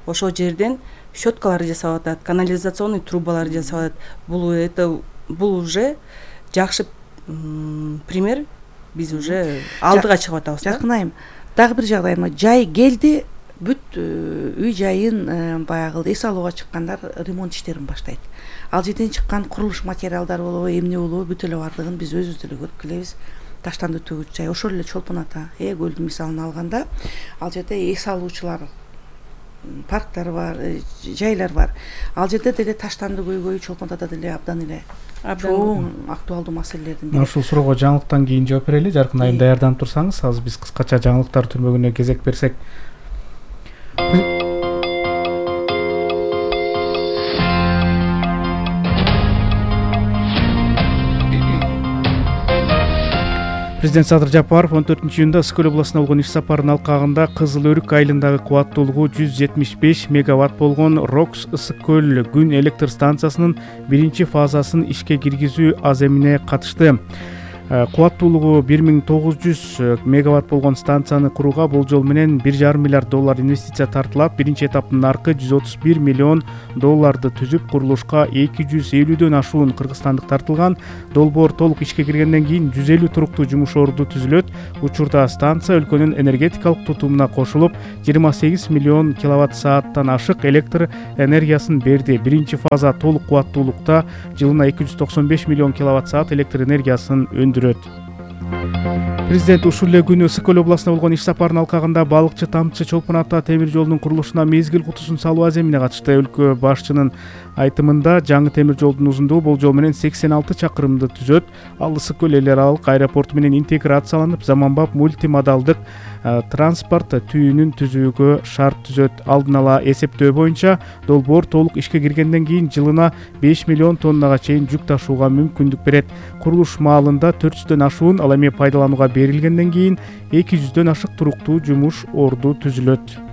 ошол жерден щеткаларды жасап атат, канализационный трубаларды жасап атат. Бул это бул уже жакшы пример. Биз уже алдыга чыгып атабыз. Жаркын айым, дагы бир жагдайма жай келди, бүт үй жайын баягы эс алууга чыккандар ремонт иштерин баштайт. Ал жерден чыккан курулуш материалдары болобу, эмне болобу, бүт эле бардыгын биз өзүбүз деле көрүп келебиз. Таштанды төгүүчү жай ошол эле Чолпон ата, Э көлдүн мисалын алганда, ал жерде эс алуучулар парктар бар, жайлар бар. Ал жерде деле таштанды көйгөйү Чолпон атада деле абдан эле чоң актуалдуу маселелердин бири. Ушул суроого жаңылыктан кийин жооп берели. Жаркын айым даярданып турсаңыз, азыр биз кыскача жаңылыктар түрмөгүнө кезек берсек. Президент Садыр Жапаров он төртүнчү июнда Ысык көл областына болгон иш сапарынын алкагында Кызыл Өрүк айылындагы кубаттуулугу жүз жетимиш беш мегаватт болгон Рокс Ысык көл күн электр станциясынын биринчи фазасын ишке киргизүү аземине катышты. кубаттуулугу бир миң тогуз жүз мегаватт болгон станцияны курууга болжол менен бир жарым миллиард доллар инвестиция тартылат. Биринчи этаптын наркы жүз отуз бир миллион долларды түзүп, курулушка эки жүз элүүдөн ашуун кыргызстандык тартылган. Долбоор толук ишке киргенден кийин жүз элүү туруктуу жумуш орду түзүлөт. Учурда станция өлкөнүн энергетикалык тутумуна кошулуп, жыйырма сегиз миллион киловатт сааттан ашык электр энергиясын берди. Биринчи фаза толук кубаттуулукта жылына эки жүз токсон беш миллион киловатт саат электр энергиясын өндүрөт. Президент ушул эле күнү Ысык Көл областына болгон иш сапарынын алкагында балыкчы Тамчы Чолпон ата темир жолдун курулушуна мезгил кутусун салуу аземине катышты. Өлкө башчынын айтымында жаңы темир жолдун узундугу болжол менен сексен алты чакырымды түзөт. Ал Ысык Көл эл аралык аэропорту менен интеграцияланып, заманбап мультимодалдык транспорт түйүнүн түзүүгө шарт түзөт. Алдын ала эсептөө боюнча долбоор толук ишке киргенден кийин жылына беш миллион тоннага чейин жүк ташууга мүмкүндүк берет. Курулуш маалында төрт жүздөн ашуун, ал эми пайдаланууга берилгенден кийин эки жүздөн ашык туруктуу жумуш орду түзүлөт.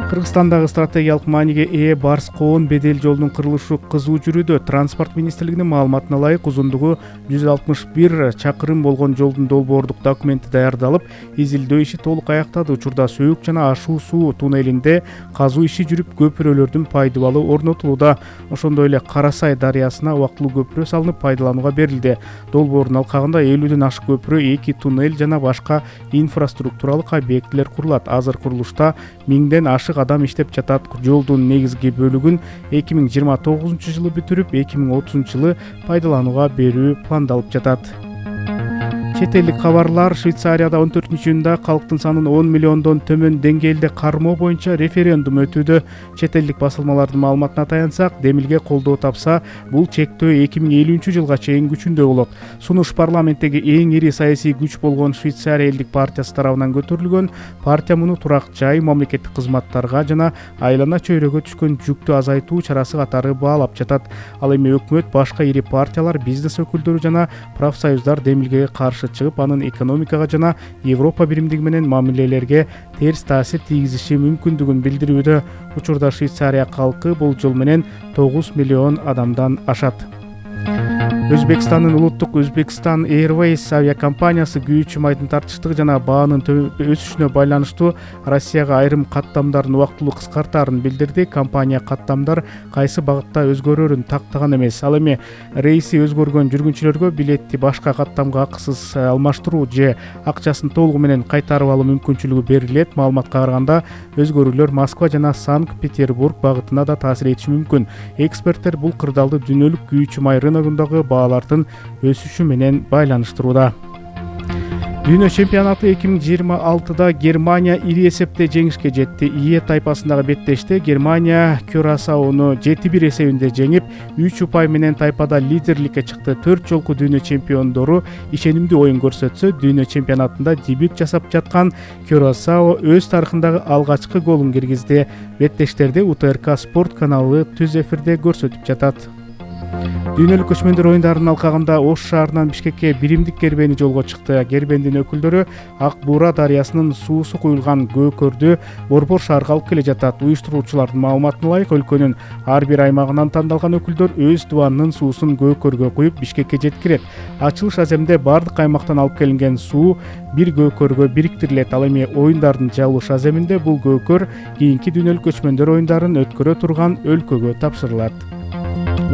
Кыргызстандагы стратегиялык мааниге ээ Барс Коон бедел жолдун курулушу кызуу жүрүүдө. Транспорт министрлигинин маалыматына ылайык, узундугу жүз алтымыш бир чакырым болгон жолдун долбоордук документи даярдалып, изилдөө иши толук аяктады. Учурда сөөк жана ашуу суу туннелинде казуу иши жүрүп, көпүрөлөрдүн пайдыбалы орнотулууда. Ошондой эле Карасай дарыясына убактылуу көпүрө салынып, пайдаланууга берилди. Долбоордун алкагында элүүдөн ашык көпүрө, эки туннель жана башка инфраструктуралык объектилер курулат. Азыр курулушта миңден ашык адам иштеп жатат. Жолдун негизги бөлүгүн эки миң жыйырма тогузунчу жылы бүтүрүп, эки миң отузунчу жылы пайдаланууга берүү пландалып жатат. Чет элдик кабарлар. Швейцарияда он төртүнчү июнда калктын санын он миллиондон төмөн деңгээлде кармоо боюнча референдум өтүүдө. Чет элдик басылмалардын маалыматына таянсак, демилге колдоо тапса, бул чектөө эки миң элүүнчү жылга чейин күчүндө болот. Сунуш парламенттеги эң ири саясий күч болгон Швейцария элдик партиясы тарабынан көтөрүлгөн. Партия муну турак жай, мамлекеттик кызматтарга жана айлана чөйрөгө түшкөн жүктү азайтуу чарасы катары баалап жатат. Ал эми өкмөт, башка ири партиялар, бизнес өкүлдөрү жана профсоюздар демилгеге каршы чыгып, анын экономикага жана Европа биримдиги менен мамилелерге терс таасир тийгизиши мүмкүндүгүн билдирүүдө. Учурда Швейцария калкы болжол менен тогуз миллион адамдан ашат. Өзбекстандын улуттук Өзбекстан Airways авиакомпаниясы күйүүчү майдын тартыштыгы жана баанын өсүшүнө байланыштуу Россияга айрым каттамдарын убактылуу кыскартаарын билдирди. Компания каттамдар кайсы багытта өзгөрөрүн тактаган эмес. Ал эми рейси өзгөргөн жүргүнчүлөргө билетти башка каттамга акысыз алмаштыруу же акчасын толугу менен кайтарып алуу мүмкүнчүлүгү берилет. Маалыматка караганда, өзгөрүүлөр Москва жана Санкт-Петербург багытына да таасир этиши мүмкүн. Эксперттер бул кырдаалды дүйнөлүк күйүүчү май рыногундагы баалардын өсүшү менен байланыштырууда. Дүйнө чемпионаты эки миң жыйырма алтыда Германия ири эсепте жеңишке жетти. Ие тайпасындагы беттеште Германия Кюрасаону жети бир эсебинде жеңип, үч упай менен тайпада лидерликке чыкты. Төрт жолку дүйнө чемпиондору ишенимдүү оюн көрсөтсө, дүйнө чемпионатында дебют жасап жаткан Кюрасао өз тарыхындагы алгачкы голун киргизди. Беттештерди У Т Р К спорт каналы түз эфирде көрсөтүп жатат. Дүйнөлүк көчмөндөр оюндарынын алкагында Ош шаарынан Бишкекке биримдик кербени жолго чыкты. Кербендин өкүлдөрү Ак Буура дарыясынын суусу куюлган көкөрдү Борбор шаарга алып келе жатат. Уюштуруучулардын маалыматына ылайык, өлкөнүн ар бир аймагынан тандалган өкүлдөр өз дубанынын суусун көкөргө куюп Бишкекке жеткирет. Ачылыш аземде бардык аймактан алып келинген суу бир көкөргө бириктирилет. Ал эми оюндардын жабылыш аземинде бул көкөр кийинки дүйнөлүк көчмөндөр оюндарын өткөрө турган өлкөгө тапшырылат.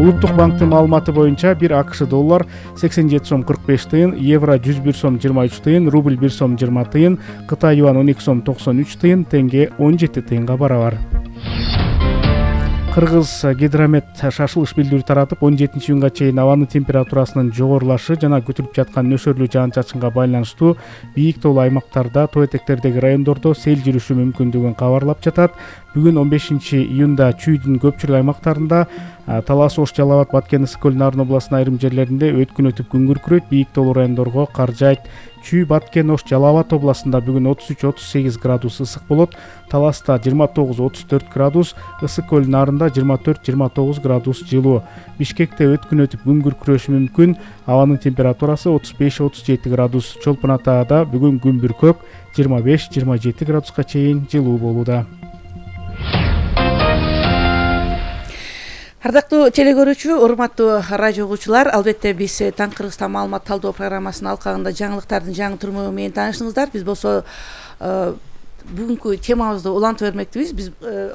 Улуттук банктын маалыматы боюнча бир АКШ доллар сексен жети сом кырк беш тыйын, евро жүз бир сом жыйырма үч тыйын, рубль бир сом жыйырма тыйын, Кытай юан он эки сом токсон үч тыйын, тенге он жети тыйынга барабар. Кыргыз гидромет шашылыш билдирүү таратып, он жетинчи июнга чейин абанын температурасынын жогорулашы жана күтүлүп жаткан нөшөрлүү жаан-чачынга байланыштуу бийик тоолуу аймактарда, тоо этектердеги райондордо сел жүрүшү мүмкүндүгүн кабарлап жатат. Бүгүн он бешинчи июнда Чүйдүн көпчүлүк аймактарында, Талас, Ош, Жалал абад, Баткен, Ысык Көл, Нарын областынын айрым жерлеринде өткүн өтүп күн күркүрөйт. Бийик тоолуу райондорго кар жаайт. Чүй, Баткен, Ош, Жалал абад областында бүгүн отуз үч отуз сегиз градус ысык болот. Таласта жыйырма тогуз отуз төрт градус, Ысык Көл, Нарында жыйырма төрт жыйырма тогуз градус жылуу. Бишкекте өткүн өтүп күн күркүрөшү мүмкүн. Абанын температурасы отуз беш отуз жети градус. Чолпон Атада бүгүн күн бүркөк, жыйырма беш жыйырма жети градуска чейин жылуу болууда. Ардактуу теле көрүүчү, урматтуу радио угуучулар, албетте биз Таң Кыргызстан маалымат талдоо программасынын алкагында жаңылыктардын жаңы түрмөгү менен таанышыңыздар. Биз болсо бүгүнкү темабызды улантып бермекчибиз. Биз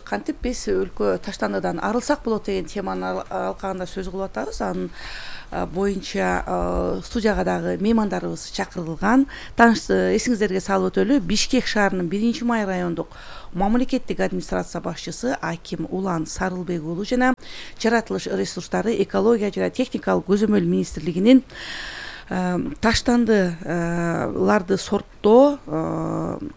кантип биз өлкө таштандыдан арылсак болот деген теманын алкагында сөз кылып атабыз. Анын боюнча студияга дагы меймандарыбыз чакырылган. Тааныш эсиңиздерге салып өтөлү, Бишкек шаарынын биринчи май райондук мамлекеттик администрация башчысы Аким Улан Сарылбек уулу жана жаратылыш ресурстары, экология жана техникалык көзөмөл министрлигинин таштандыларды сорттоо,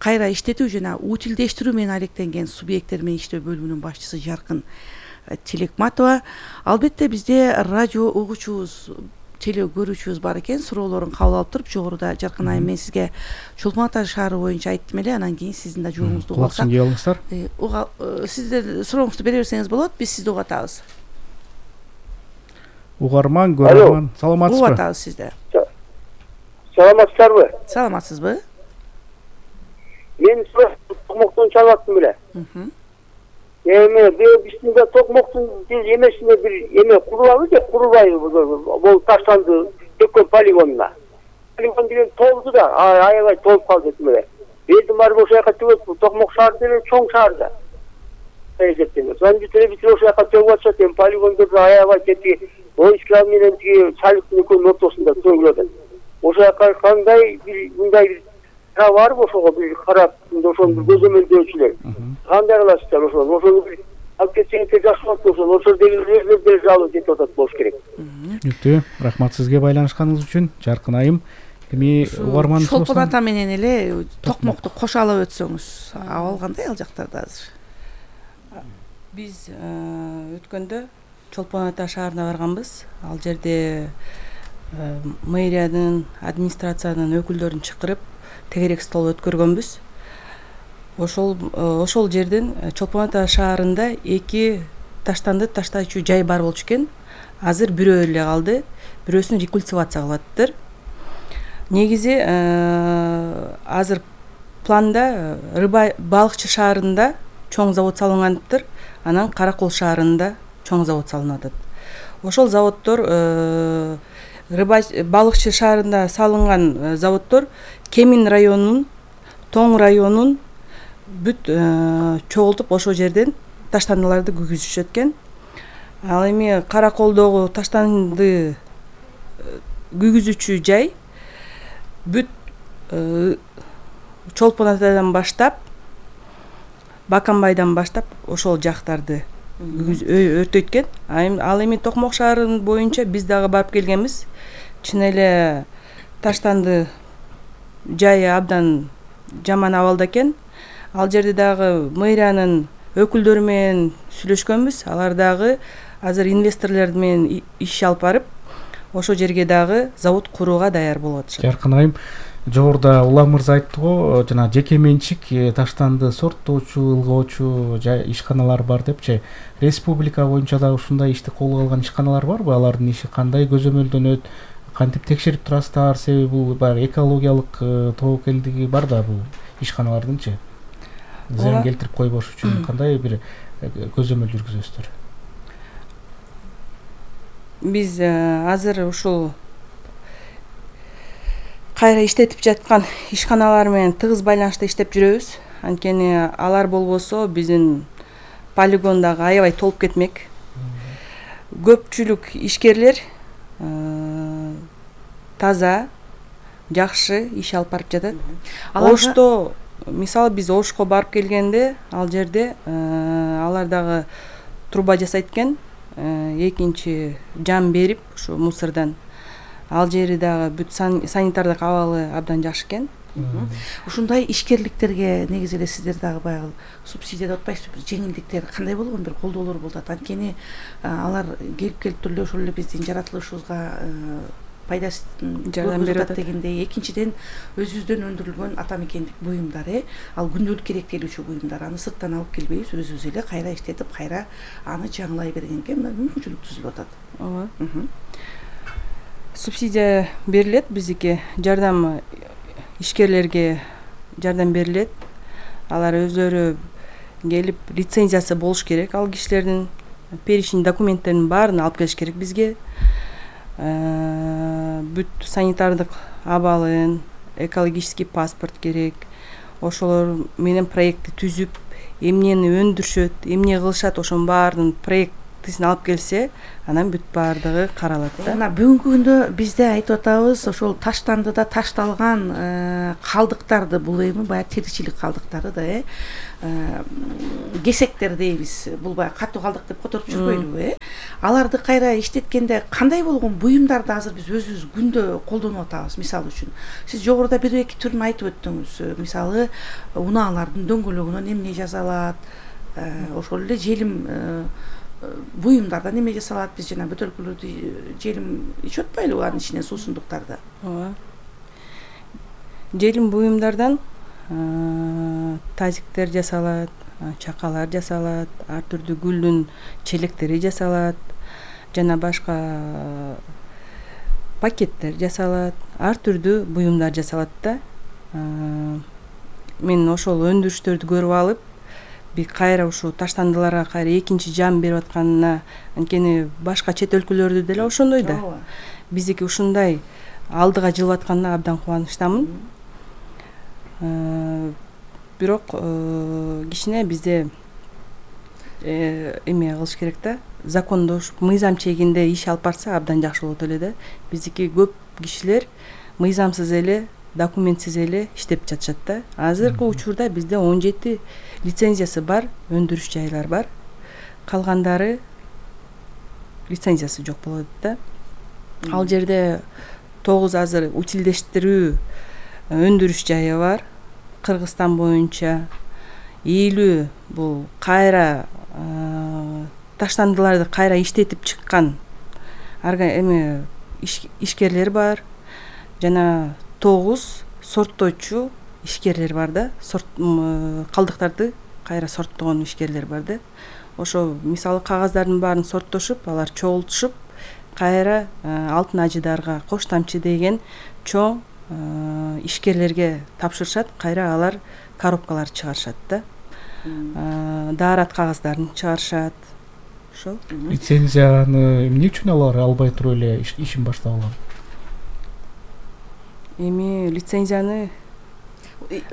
кайра иштетүү жана утилдештирүү менен алектенген субъекттер менен иштөө бөлүмүнүн башчысы Жаркын Телекматова. Албетте бизде радио угуучубуз, теле көрүүчүбүз бар экен. Суроолорун кабыл алып туруп, жогоруда Жаркын айым, мен сизге Чолпон Ата шаары боюнча айттым эле, анан кийин сиздин да жообуңузду угап алсак. Кулакчын кеп алыңыздар. Сиздер сурооңузду бере берсеңиз болот, биз сизди угатабыз. Угарман, көрөрман, саламатсызбы? Угуп атабыз сизди. Саламатсыздарбы? Саламатсызбы? Мен токмоктон чалып аттым беле. Эме биздин да токмоктун эмесине бир эме курулабы же курулбайбы? Бул таштанды төккөн полигонуна. Полигон деген толду да, аябай толуп калды эле. Элдин баары ошол жака төгөт, Токмок шаары деле чоң шаар да. Эсептеңиз. Мен телевизор ошол жака төгүп атышат, эми полигондорду аябай кетти. Оюшкалар менен тиги салыктын экөөнүн ортосунда төгүлөт. Ошол жака кандай бир мындай бир барбы ошого бир карап, ошону бир көзөмөлдөөчүлөр. Кандай кыласыздар ошону? Ошону бир алып кетсеңиздер жакшы болот болсо, ошол өзүлөр деле жалып жетип атат болуш керек. Түктүү. Рахмат сизге байланышканыңыз үчүн, Жаркын айым. Эми угарманыбыз Чолпон Ата менен эле Токмокту кошалап өтсөңүз, абал кандай ал жактарда азыр? Биз өткөндө Чолпон Ата шаарына барганбыз. Ал жерде мэриянын, администрациянын өкүлдөрүн чакырып тегерек стол өткөргөнбүз. Ошол ошол жерден Чолпон Ата шаарында эки таштанды таштачу жай бар болчу экен. Азыр бирөө эле калды. Бирөөсүн рекультивация кылаттыр. Негизи азыр планда Рыба балыкчы шаарында чоң завод салынгандыр, анан Каракол шаарында чоң завод салынат. Ошол заводдор Рыба балыкчы шаарында салынган заводдор Кемин районунун, Тоң районунун бүт чогултуп ошол жерден таштандыларды күйгүзүшөт экен. Ал эми Караколдогу таштанды күйгүзүүчү жай бүт Чолпон Атадан баштап, Баканбайдан баштап ошол жактарды өртөйт экен. Ал эми Токмок шаарынын боюнча биз дагы барып келгенбиз. Чын эле таштанды жайы абдан жаман абалда экен. Ал жерде дагы мэриянын өкүлдөрү менен сүйлөшкөнбүз. Алар дагы азыр инвесторлор менен иш алып барып, ошол жерге дагы завод курууга даяр болуп атышат. Жаркын айым, жогоруда Улан мырза айтты го, жана жеке менчик таштанды сорттоочу, ылгоочу ишканалар бар депчи. Республика боюнча дагы ушундай ишти колго алган ишканалар барбы? Алардын иши кандай көзөмөлдөнөт? Кантип текшерип турасыздар? Себеби бул баягы экологиялык тобокелдиги бар да бул ишканалардынчы. Зыян келтирип койбош үчүн кандай бир көзөмөл жүргүзөсүздөр? Биз азыр ушул кайра иштетип жаткан ишканалар менен тыгыз байланышта иштеп жүрөбүз. Анткени алар болбосо биздин полигон дагы аябай толуп кетмек. Көпчүлүк ишкерлер таза, жакшы иш алып барып жатат. Ошто мисалы биз Ошко барып келгенде, ал жерде алар дагы труба жасайт экен, экинчи жан берип ушу мусордон. Ал жери дагы бүт санитардык абалы абдан жакшы экен. Ушундай ишкерликтерге негизи эле сиздер дагы баягы субсидия деп атпайсызбы, жеңилдиктер кандай болгон бир колдоолор болуп атат. Анткени алар келип келип туруп эле ошол эле биздин жаратылышыбызга пайдасын жардам берип атат дегендей. Экинчиден өзүбүздөн өндүрүлгөн ата мекендик буюмдар, э ал күндөлүк керектелүүчү буюмдар. Аны сырттан алып келбейбиз, өзүбүз эле кайра иштетип, кайра аны жаңылай бергенге мүмкүнчүлүк түзүлүп атат. Ооба. Субсидия берилет, биздики жардам ишкерлерге жардам берилет. Алар өздөрү келип лицензиясы болуш керек ал кишилердин. перечень документтердин баарын алып келиш керек бизге. Бүт санитардык абалын, экологический паспорт керек. Ошолор менен проектти түзүп, эмнени өндүрүшөт, эмне кылышат, ошонун баарынын проектисин алып келсе, анан бүт баардыгы каралат да. Мына бүгүнкү күндө бизде айтып атабыз, ошол таштандыда ташталган калдыктарды, бул эми баягы тиричилик калдыктары да, э кесектер дейбиз. Бул баягы катуу калдык деп которуп жүрбөйлүбү, э аларды кайра иштеткенде кандай болгон буюмдарды азыр биз өзүбүз күндө колдонуп атабыз? Мисалы үчүн, сиз жогоруда бир эки түрүн айтып өттүңүз. Мисалы, унаалардын дөңгөлөгүнөн эмне жасалат, ошол эле желим буюмдардан эме жасалат. Биз жана бөтөлкөлөрдү желим ичип атпайлыбы анын ичинен суусундуктарды? Ооба. Желим буюмдардан тазиктер жасалат, чакалар жасалат, ар түрдүү гүлдүн челектери жасалат, жана башка пакеттер жасалат, ар түрдүү буюмдар жасалат да. Мен ошол өндүрүштөрдү көрүп алып, би кайра ушул таштандыларга кайра экинчи жан берип атканына, анткени башка чет өлкөлөрдү деле ошондой да. Биздики ушундай алдыга жылып атканына абдан кубанычтамын. Бирок кичине бизде эме кылыш керек да, закондошуп, мыйзам чегинде иш алып барса абдан жакшы болот эле да. Биздики көп кишилер мыйзамсыз эле, документсиз эле иштеп жатышат да. Азыркы учурда бизде он жети лицензиясы бар, өндүрүш жайлар бар. Калгандары лицензиясы жок болот да. Ал жерде тогуз азыр утилдештирүү өндүрүш жайы бар. Кыргызстан боюнча элүү бул кайра таштандыларды кайра иштетип чыккан эме ишкерлер бар. Жана тогуз сорттоочу ишкерлер бар да. Калдыктарды кайра сорттогон ишкерлер бар да. Ошо мисалы кагаздардын баарын сорттошуп, алар чогултушуп, кайра алтын ажыдарга, кош тамчы деген чоң ишкерлерге тапшырышат, кайра алар коробкалар чыгарышат да. Даарат кагаздарын чыгарышат. Ошол. Лицензияны эмне үчүн алар албай туруп эле ишин баштап алган? Эми лицензияны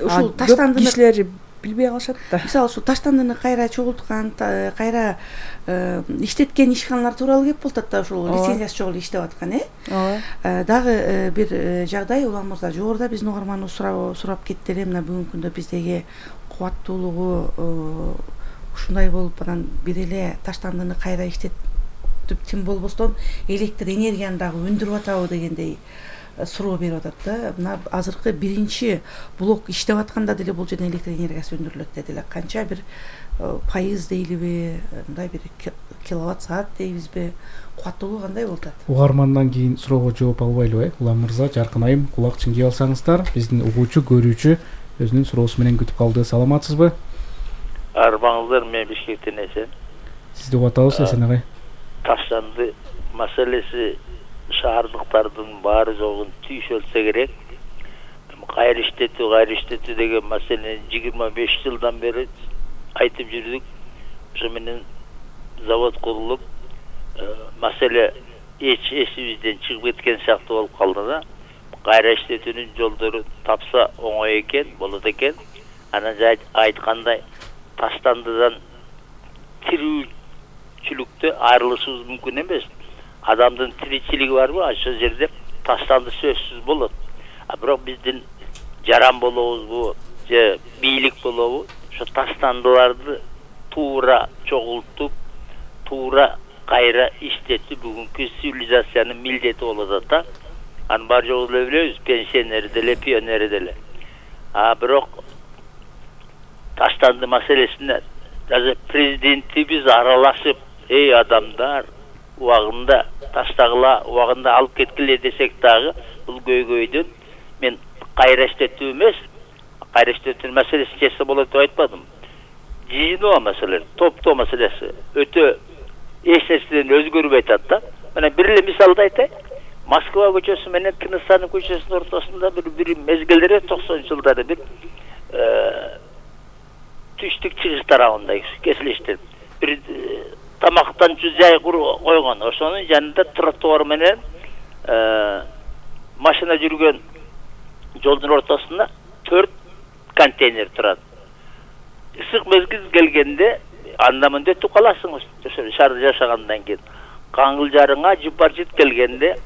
ушул таштандыны кишилер билбей калышат да. Мисалы ушул таштандыны кайра чогулткан, кайра иштеткен ишканалар тууралуу кеп болот да, ушул лицензиясы жок эле иштеп аткан, э? Ооба. Дагы бир жагдай, улам мырза, жогоруда биздин угарманыбыз сурап кетти эле, мына бүгүнкү күндө биздеги кубаттуулугу ушундай болуп, анан бир эле таштандыны кайра иштетип тим болбостон электр энергияны дагы өндүрүп атабы дегендей суроо берип атат да. Мына азыркы биринчи блок иштеп атканда деле бул жерден электр энергиясы өндүрүлөт дедилер. Канча бир пайыз дейлиби, мындай бир киловатт саат дейбизби? Кубаттуулугу кандай болуп атат? Угармандан кийин суроого жооп албайлыбы, э? Улам мырза, Жаркын айым, кулак чыңгый алсаңыздар, биздин угуучу, көрүүчү өзүнүн суроосу менен күтүп калды. Саламатсызбы? Арбаңыздар, мен Бишкектен Эсен. Сизди угуп атабыз, Эсен агай. Таштанды маселеси шаардыктардын баары жогун түйшөлсө керек. Кайра иштетүү, кайра иштетүү деген маселени жыйырма беш жылдан бери айтып жүрдүк. Ошо менен завод курулуп, маселе эч эсибизден чыгып кеткен сыяктуу болуп калды да. Кайра иштетүүнүн жолдору тапса оңой экен, болот экен. Анан айткандай таштандыдан тирүүчүлүктө айрылышыбыз мүмкүн эмес. Адамдын тиричилиги барбы, ошол жерде таштанды сөзсүз болот. А бирок биздин жаран болобузбу, же бийлик болобу, ошо таштандыларды туура чогултуп, туура кайра иштетүү бүгүнкү цивилизациянын милдети болот атат да. Анын бар жогу эле билебиз, пенсионери деле, пионери деле. А бирок таштанды маселесине даже президентибиз аралашып, эй адамдар, убагында таштагыла, убагында алып кеткиле десек дагы, бул көйгөйдөн мен кайра иштетүү эмес, кайра иштетүү маселесин чечсе болот деп айтпадым. Жыйыноо маселе, топтоо маселеси өтө эч нерседен өзгөрбөй атат да. Мына бир эле мисалды айтайын. Москва көчөсү менен Тыныстанов көчөсүнүн ортосунда бир бир мезгилдери токсонунчу жылдары бир түштүк чыгыш тарабында кесилиштер. Бир тамактанчу жай койгон. Ошонун жанында тротуар менен машина жүргөн жолдун ортосунда төрт контейнер турат. Ысык мезгил келгенде анда мындай өтүп каласыңыз. Ошо шаарда жашагандан кийин каңгыл жарыңа жыпар-жыт келгенде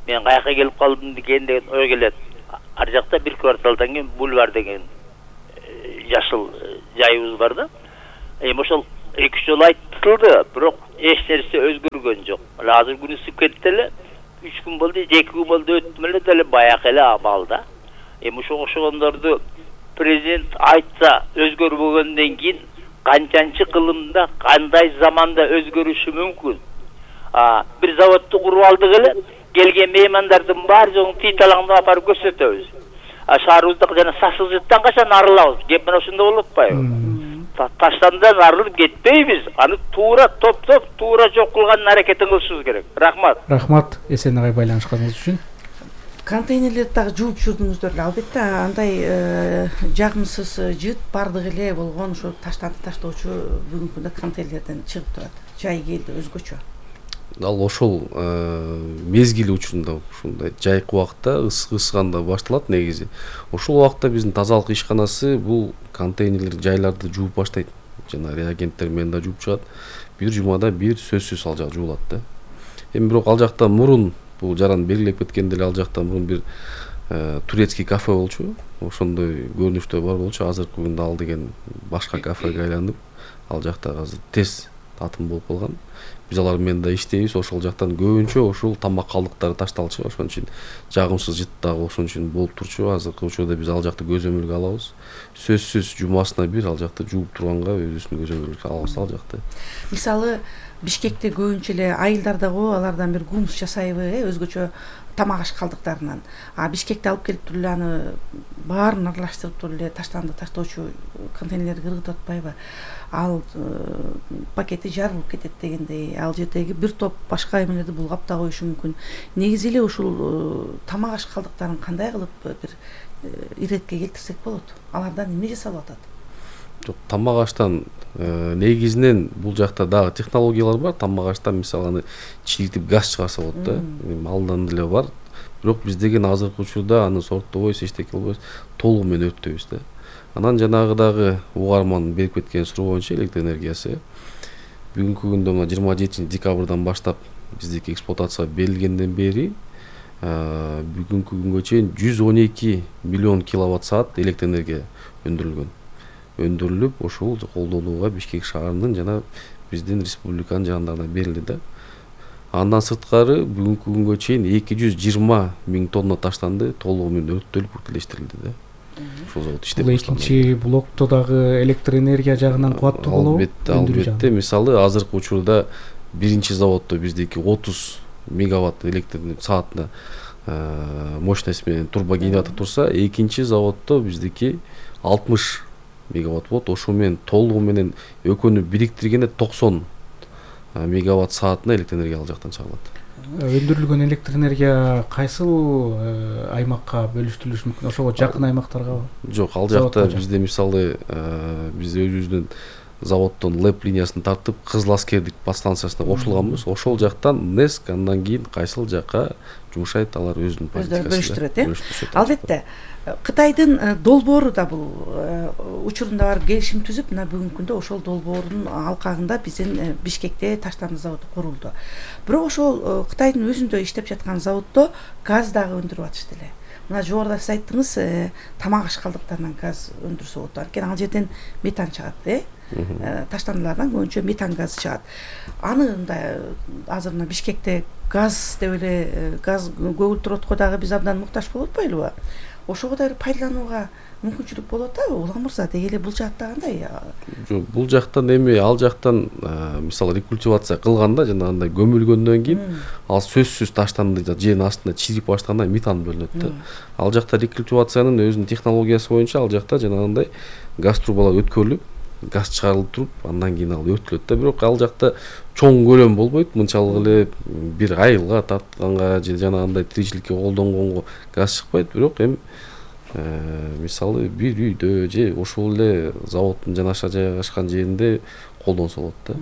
мен каяка келип калдым деген деген ой келет. Ар жакта бир кварталдан кийин бульвар деген жашыл жайыбыз бар да. Эми ошол эки үч жолу айтылды, бирок эч нерсе өзгөргөн жок. Азыр күн ысып кетти эле, үч күн болду, эки күн болду өттүм эле деле баягы эле абалда. Эми ошого окшогондорду президент айтса өзгөрбөгөндөн кийин канчанчы кылымда, кандай заманда өзгөрүшү мүмкүн? А, бир заводду куруп алдык эле, келген меймандардын баары жоң тыйталаңдап апарып көрсөтөбүз. А шаарыбызда жана сасыкжыттан качан арылабыз? Кеп мына ошондой болуп атпайбы? Таштандан арылып кетпейбиз. Аны туура топтоп, туура жок кылган аракетин кылышыбыз керек. Рахмат. Рахмат Эсен агай байланышканыңыз үчүн. Контейнерлерди дагы жууп жүрдүңүздөр эле. Албетте андай жагымсыз жыт бардык эле болгон ошо таштанды таштоочу бүгүнкү күндө контейнерлерден чыгып турат. Жай келди өзгөчө. Ал ошол мезгили учурунда ушундай жайкы убакта ысык ысыганда башталат негизи. Ошол убакта биздин тазалык ишканасы бул контейнерлер жайларды жууп баштайт. Жана реагенттер менен да жууп чыгат. Бир жумада бир сөзсүз ал жак жуулат да. Эми бирок ал жакта мурун бул жаран белгилеп кеткенде эле ал жакта мурун бир турецкий кафе болчу. Ошондой көрүнүштө бар болчу. Азыркы күндө ал деген башка кафеге айланып, ал жакта азыр тез татым болуп калган. Биз алар менен да иштейбиз. Ошол жактан көбүнчө ошол тамак калдыктары ташталчу. Ошон үчүн жагымсыз жыт дагы ошон үчүн болуп турчу. Азыркы учурда биз ал жакты көзөмөлгө алабыз. Сөзсүз жумасына бир ал жакты жууп турганга өзүбүздүн көзөмөлгө алабыз ал жакты. Мисалы Бишкекте көбүнчө эле айылдар дагы алардан бир гумус жасайбы, э, өзгөчө тамак аш калдыктарынан. А Бишкекте алып келип туруп эле аны баарын аралаштырып туруп эле таштанды таштоочу контейнерлерди кыргытып атпайбы? Ал пакети жарылып кетет дегендей, ал жердеги бир топ башка эмелерди булгап да коюшу мүмкүн. Негизи эле ушул тамак аш калдыктарын кандай кылып бир иретке келтирсек болот? Алардан эмне жасалып атат? Жок, тамак аштан негизинен бул жакта дагы технологиялар бар. Тамак аштан мисалы аны чийилтип газ чыгарса болот да. Алдан деле бар. Бирок биз деген азыркы учурда аны сорттобойбуз, эчтеке кылбайбыз, толугу менен өрттөйбүз да. Анан жанагыдагы угарман берип кеткен суроо боюнча электр энергиясы бүгүнкү күндө мына жыйырма жетинчи декабрдан баштап биздики эксплуатацияга берилгенден бери бүгүнкү күнгө чейин жүз он эки миллион киловатт саат электр энергия өндүрүлгөн. Өндүрүлүп ошол колдонууга Бишкек шаарынын жана биздин республиканын жандарына берилди да. Андан сырткары бүгүнкү күнгө чейин эки жүз жыйырма миң тонна таштанды толугу менен өрттөлүп бүркүлөштүрүлдү да. Ошол завод иштеп бул экинчи блокто дагы электр энергия жагынан кубаттуу болобу? Албетте, албетте. Мисалы азыркы учурда биринчи заводдо биздики отуз мегаватт электр саатына мощность менен турбогенератор турса, экинчи заводдо биздики алтымыш мегаватт болот. Ошо менен толугу менен экөөнү бириктиргенде токсон мегаватт саатына электр энергия ал жактан чыгарылат. Өндүрүлгөн электр энергия кайсыл аймакка бөлүштүрүлүшү мүмкүн? Ошого жакын аймактаргабы? Жок, ал жакта бизде мисалы биз өзүбүздүн заводдон лэп линиясын тартып Кызыл аскердик подстанциясына кошулганбыз. Ошол жактан НЭСК андан кийин кайсыл жакка жумшайт, алар өзүнүн политикасы бөлүштүрөт, э? Албетте, Кытайдын долбоору да бул учурунда барып келишим түзүп, мына бүгүнкү күндө ошол долбоордун алкагында биздин Бишкекте таштанды заводу курулду. Бирок ошол Кытайдын өзүндө иштеп жаткан заводдо газ дагы өндүрүп атышты эле. Мына жогоруда сиз айттыңыз, тамак аш калдыктарынан газ өндүрсө болот. Анткени ал жерден метан чыгат, э? Таштандылардан көбүнчө метан газы чыгат. Аны мындай азыр мына Бишкекте газ деп эле газ көгүлтүр отко дагы биз абдан муктаж болуп атпайлыбы? Ошого да пайдаланууга мүмкүнчүлүк болот да, Улам мырза, деги эле бул жакта кандай? Жок, бул жактан эми ал жактан мисалы рекультивация кылганда жанагындай көмүлгөндөн кийин ал сөзсүз таштанды жердин астында чирип баштаганда метан бөлүнөт да. Ал жакта рекультивациянын өзүнүн технологиясы боюнча ал жакта жанагындай газ трубалар өткөрүлүп, газ чыгарылып туруп, андан кийин ал өрттөлөт да. Бирок ал жакта чоң көлөм болбойт. Мынчалык эле бир айылга тартканга же жанагындай тиричиликке колдонгонго газ чыкпайт. Бирок эми мисалы бир үйдө же ошол эле заводдун жанаша жайгашкан жеринде колдонсо болот да.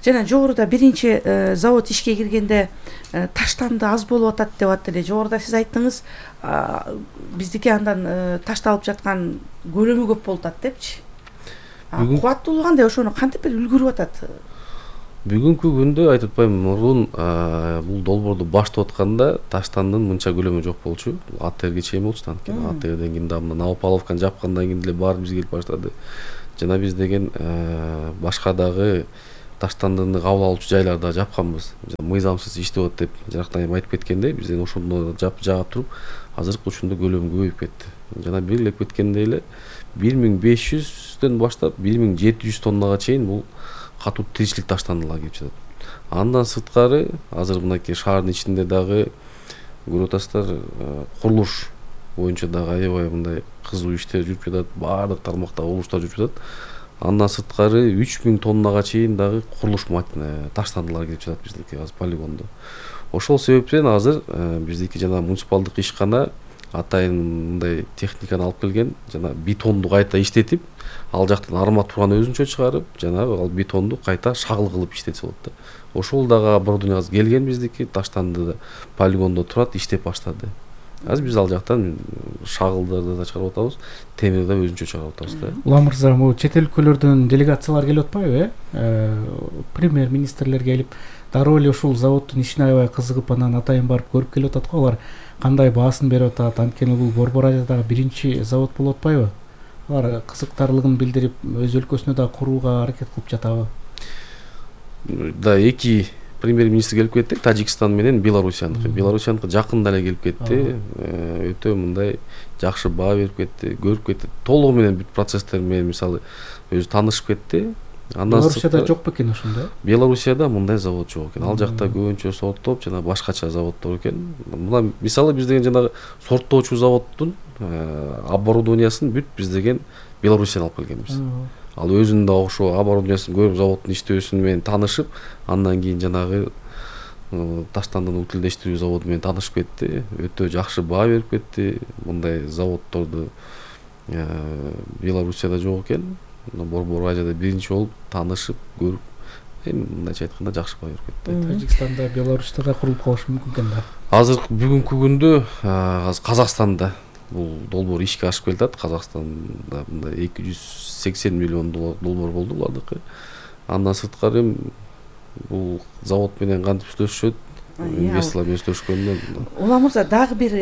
Жана жогоруда биринчи завод ишке киргенде таштанды аз болуп атат деп атты эле. Жогоруда сиз айттыңыз, биздики андан ташталып жаткан көлөмү көп болуп атат депчи. Кубаттуулугу кандай, ошону кантип бир үлгүрүп атат? Бүгүнкү күндө айтып атпайм, мурун бул долбоорду баштап атканда таштандын мынча көлөмү жок болчу. АТРге чейин болчу, анткени АТРден кийин да мына Новополовканы жапкандан кийин деле баары бизге келип баштады. Жана биз деген башка дагы таштандыны кабыл алуучу жайларда жапканбыз. Мыйзамсыз иштеп атат деп жарактан айтып кеткендей, биз ошондо жап жаап туруп, азыркы учурда көлөмү көбөйүп кетти. Жана белгилеп кеткендей эле бир миң беш жүздөн баштап бир миң жети жүз тоннага чейин бул катуу тиричилик таштандылар келип жатат. Андан сырткары азыр мынакей шаардын ичинде дагы көрүп атасыздар, курулуш боюнча дагы аябай мындай кызуу иштер жүрүп жатат, баардык тармакта курулуштар жүрүп жатат. Андан сырткары үч миң тоннага чейин дагы курулуш таштандылар келип жатат биздики азыр полигондо. Ошол себептен азыр биздики жана муниципалдык ишкана атайын мындай техниканы алып келген, жана бетонду кайта иштетип, ал жактан арматураны өзүнчө чыгарып, жана ал бетонду кайта шагыл кылып иштетсе болот да. Ошол дагы оборудование азыр келген биздики, таштанды полигондо турат, иштеп баштады. Азыр биз ал жактан шагылдарды да чыгарып атабыз, темирди да өзүнчө чыгарып атабыз да. Улам мырза, могу чет өлкөлөрдөн делегациялар келип атпайбы, э? Премьер-министрлер келип, дароо эле ушул заводдун ишине аябай кызыгып, анан атайын барып көрүп келип атат го. Алар кандай баасын берип атат? Анткени бул Борбор Азиядагы биринчи завод болуп атпайбы? Алар кызыктарлыгын билдирип, өз өлкөсүнө да курууга аракет кылып жатабы? Да, эки премьер-министр келип кетти, Тажикстан менен Белоруссияныкы. Белоруссияныкы жакында эле келип кетти. Өтө мындай жакшы баа берип кетти, көрүп кетти. Толугу менен бүт процесстер менен мисалы өзү таанышып кетти. Белоруссияда жок бекен ошондой? Белоруссияда мындай завод жок экен. Ал жакта көбүнчө сорттоп жана башкача заводдор экен. Мына мисалы биз деген жанагы сорттоочу заводдун оборудованиясын бүт биз деген Белоруссиядан алып келгенбиз. Ал өзүнүн да ошо оборудованиясын көрүп, заводдун иштөөсү менен таанышып, андан кийин жанагы таштандыны утилдештирүү заводу менен таанышып кетти. Өтө жакшы баа берип кетти. Мындай заводдорду Белоруссияда жок экен. Борбор Азияда биринчи болуп таанышып, көрүп, эми мындайча айтканда жакшы баа берип кетти. Тажикстанда, Беларусьта да курулуп калышы мүмкүн экен да. Азыр бүгүнкү күндө азыр Казакстанда бул долбоор ишке ашып келатат. Казакстанда мындай эки жүз сексен миллион долбоор болду булардыкы. Андан сырткары бул завод менен кантип сүйлөшүшөт, инвесторлор менен сүйлөшкөндө. Улам мырза, дагы бир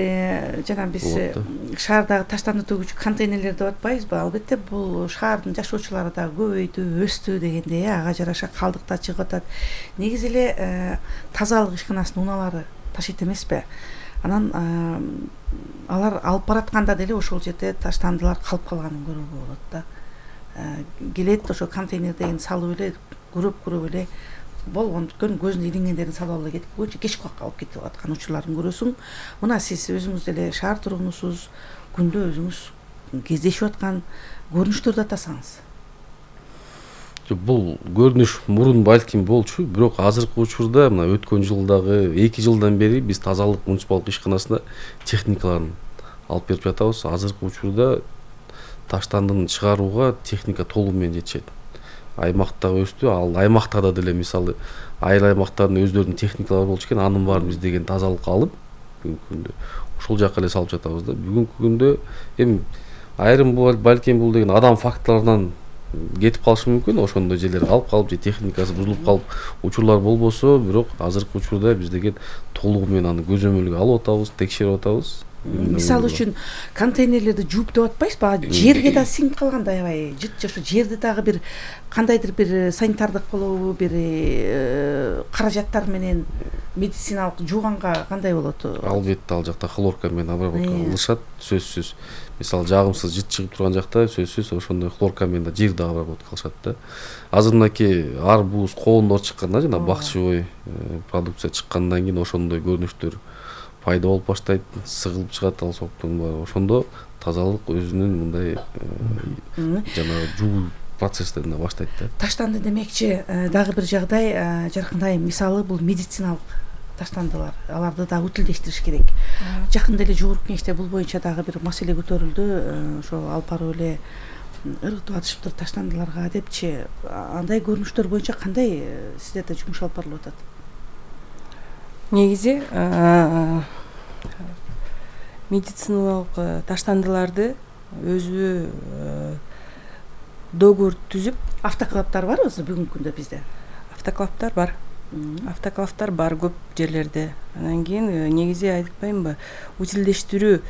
жана биз шаардагы таштанды төгүүчү контейнерлер деп атпайбызбы? Албетте бул шаардын жашоочулары дагы көбөйдү, өстү дегендей, ага жараша калдыктар чыгып атат. Негизи эле тазалык ишканасынын унаалары ташыйт эмеспи? Анан алар алып баратканда деле ошол жерде таштандылар калып калганын көрүүгө болот да. Келет ошо контейнерден салып эле, көрөп-көрөп эле болгон бүткөн көзүнө илингендерин салып алып кетип, көчө кечки убакка алып кетип аткан учурларын көрөсүң. Мына сиз өзүңүз деле шаар тургунусуз, күндө өзүңүз кездешип аткан көрүнүштөрдү атасаңыз. Бул көрүнүш мурун балким болчу, бирок азыркы учурда мына өткөн жылдагы эки жылдан бери биз тазалык муниципалдык ишканасына техникаларын алып берип жатабыз. Азыркы учурда таштандыны чыгарууга техника толугу менен жетишет. Аймакта өстү, ал аймактарда деле мисалы айыл аймактардын өздөрүнүн техникалары болчу экен, анын баарын биз деген тазалыкка алып бүгүнкү күндө ошол жака эле салып жатабыз да. Бүгүнкү күндө эми айрым балким бул деген адам факторлорунан кетип калышы мүмкүн, ошондой жерлер калып калып же техникасы бузулуп калып учурлар болбосо, бирок азыркы учурда биз деген толугу менен аны көзөмөлгө алып атабыз, текшерип атабыз. Мисалы үчүн контейнерлерди жууп деп атпайсызбы? Жерге да сиңип калганда аябай жыт ошо жерди дагы бир кандайдыр бир санитардык болобу, бир каражаттар менен медициналык жууганга кандай болот? Албетте ал жакта хлорка менен обработка кылышат, сөзсүз. Мисалы жагымсыз жыт чыгып турган жакта сөзсүз ошондой хлорка менен да жерди обработка кылышат да. Азыр мынакей арбуз, коондор чыкканда жана бакчыбой продукция чыккандан кийин ошондой көрүнүштөр пайда болуп баштайт, сыгылып чыгат ал соктун баары. Ошондо тазалык өзүнүн мындай жана жуу процесстерине баштайт да. Таштанды демекчи, дагы бир жагдай жаркындай мисалы бул медициналык таштандылар. Аларды да утилдештириш керек. Жакында эле жогорку кеңеште бул боюнча дагы бир маселе көтөрүлдү. Ошо алып барып эле ыргытып атышыптыр таштандыларга депчи, андай көрүнүштөр боюнча кандай сиздерде жумуш алып барылып атат? Негизи медициналык таштандыларды өзү договор түзүп. Автоклавдар барбы бүгүнкү күндө бизде? Автоклавдар бар. Автоклавдар бар көп жерлерде. Анан кийин негизи айтпаймынбы, утилдештирүү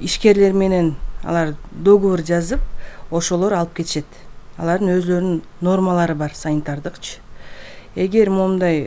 ишкерлер менен алар договор жазып, ошолор алып кетишет. Алардын өздөрүнүн нормалары бар, санитардыкчы. Эгер момундай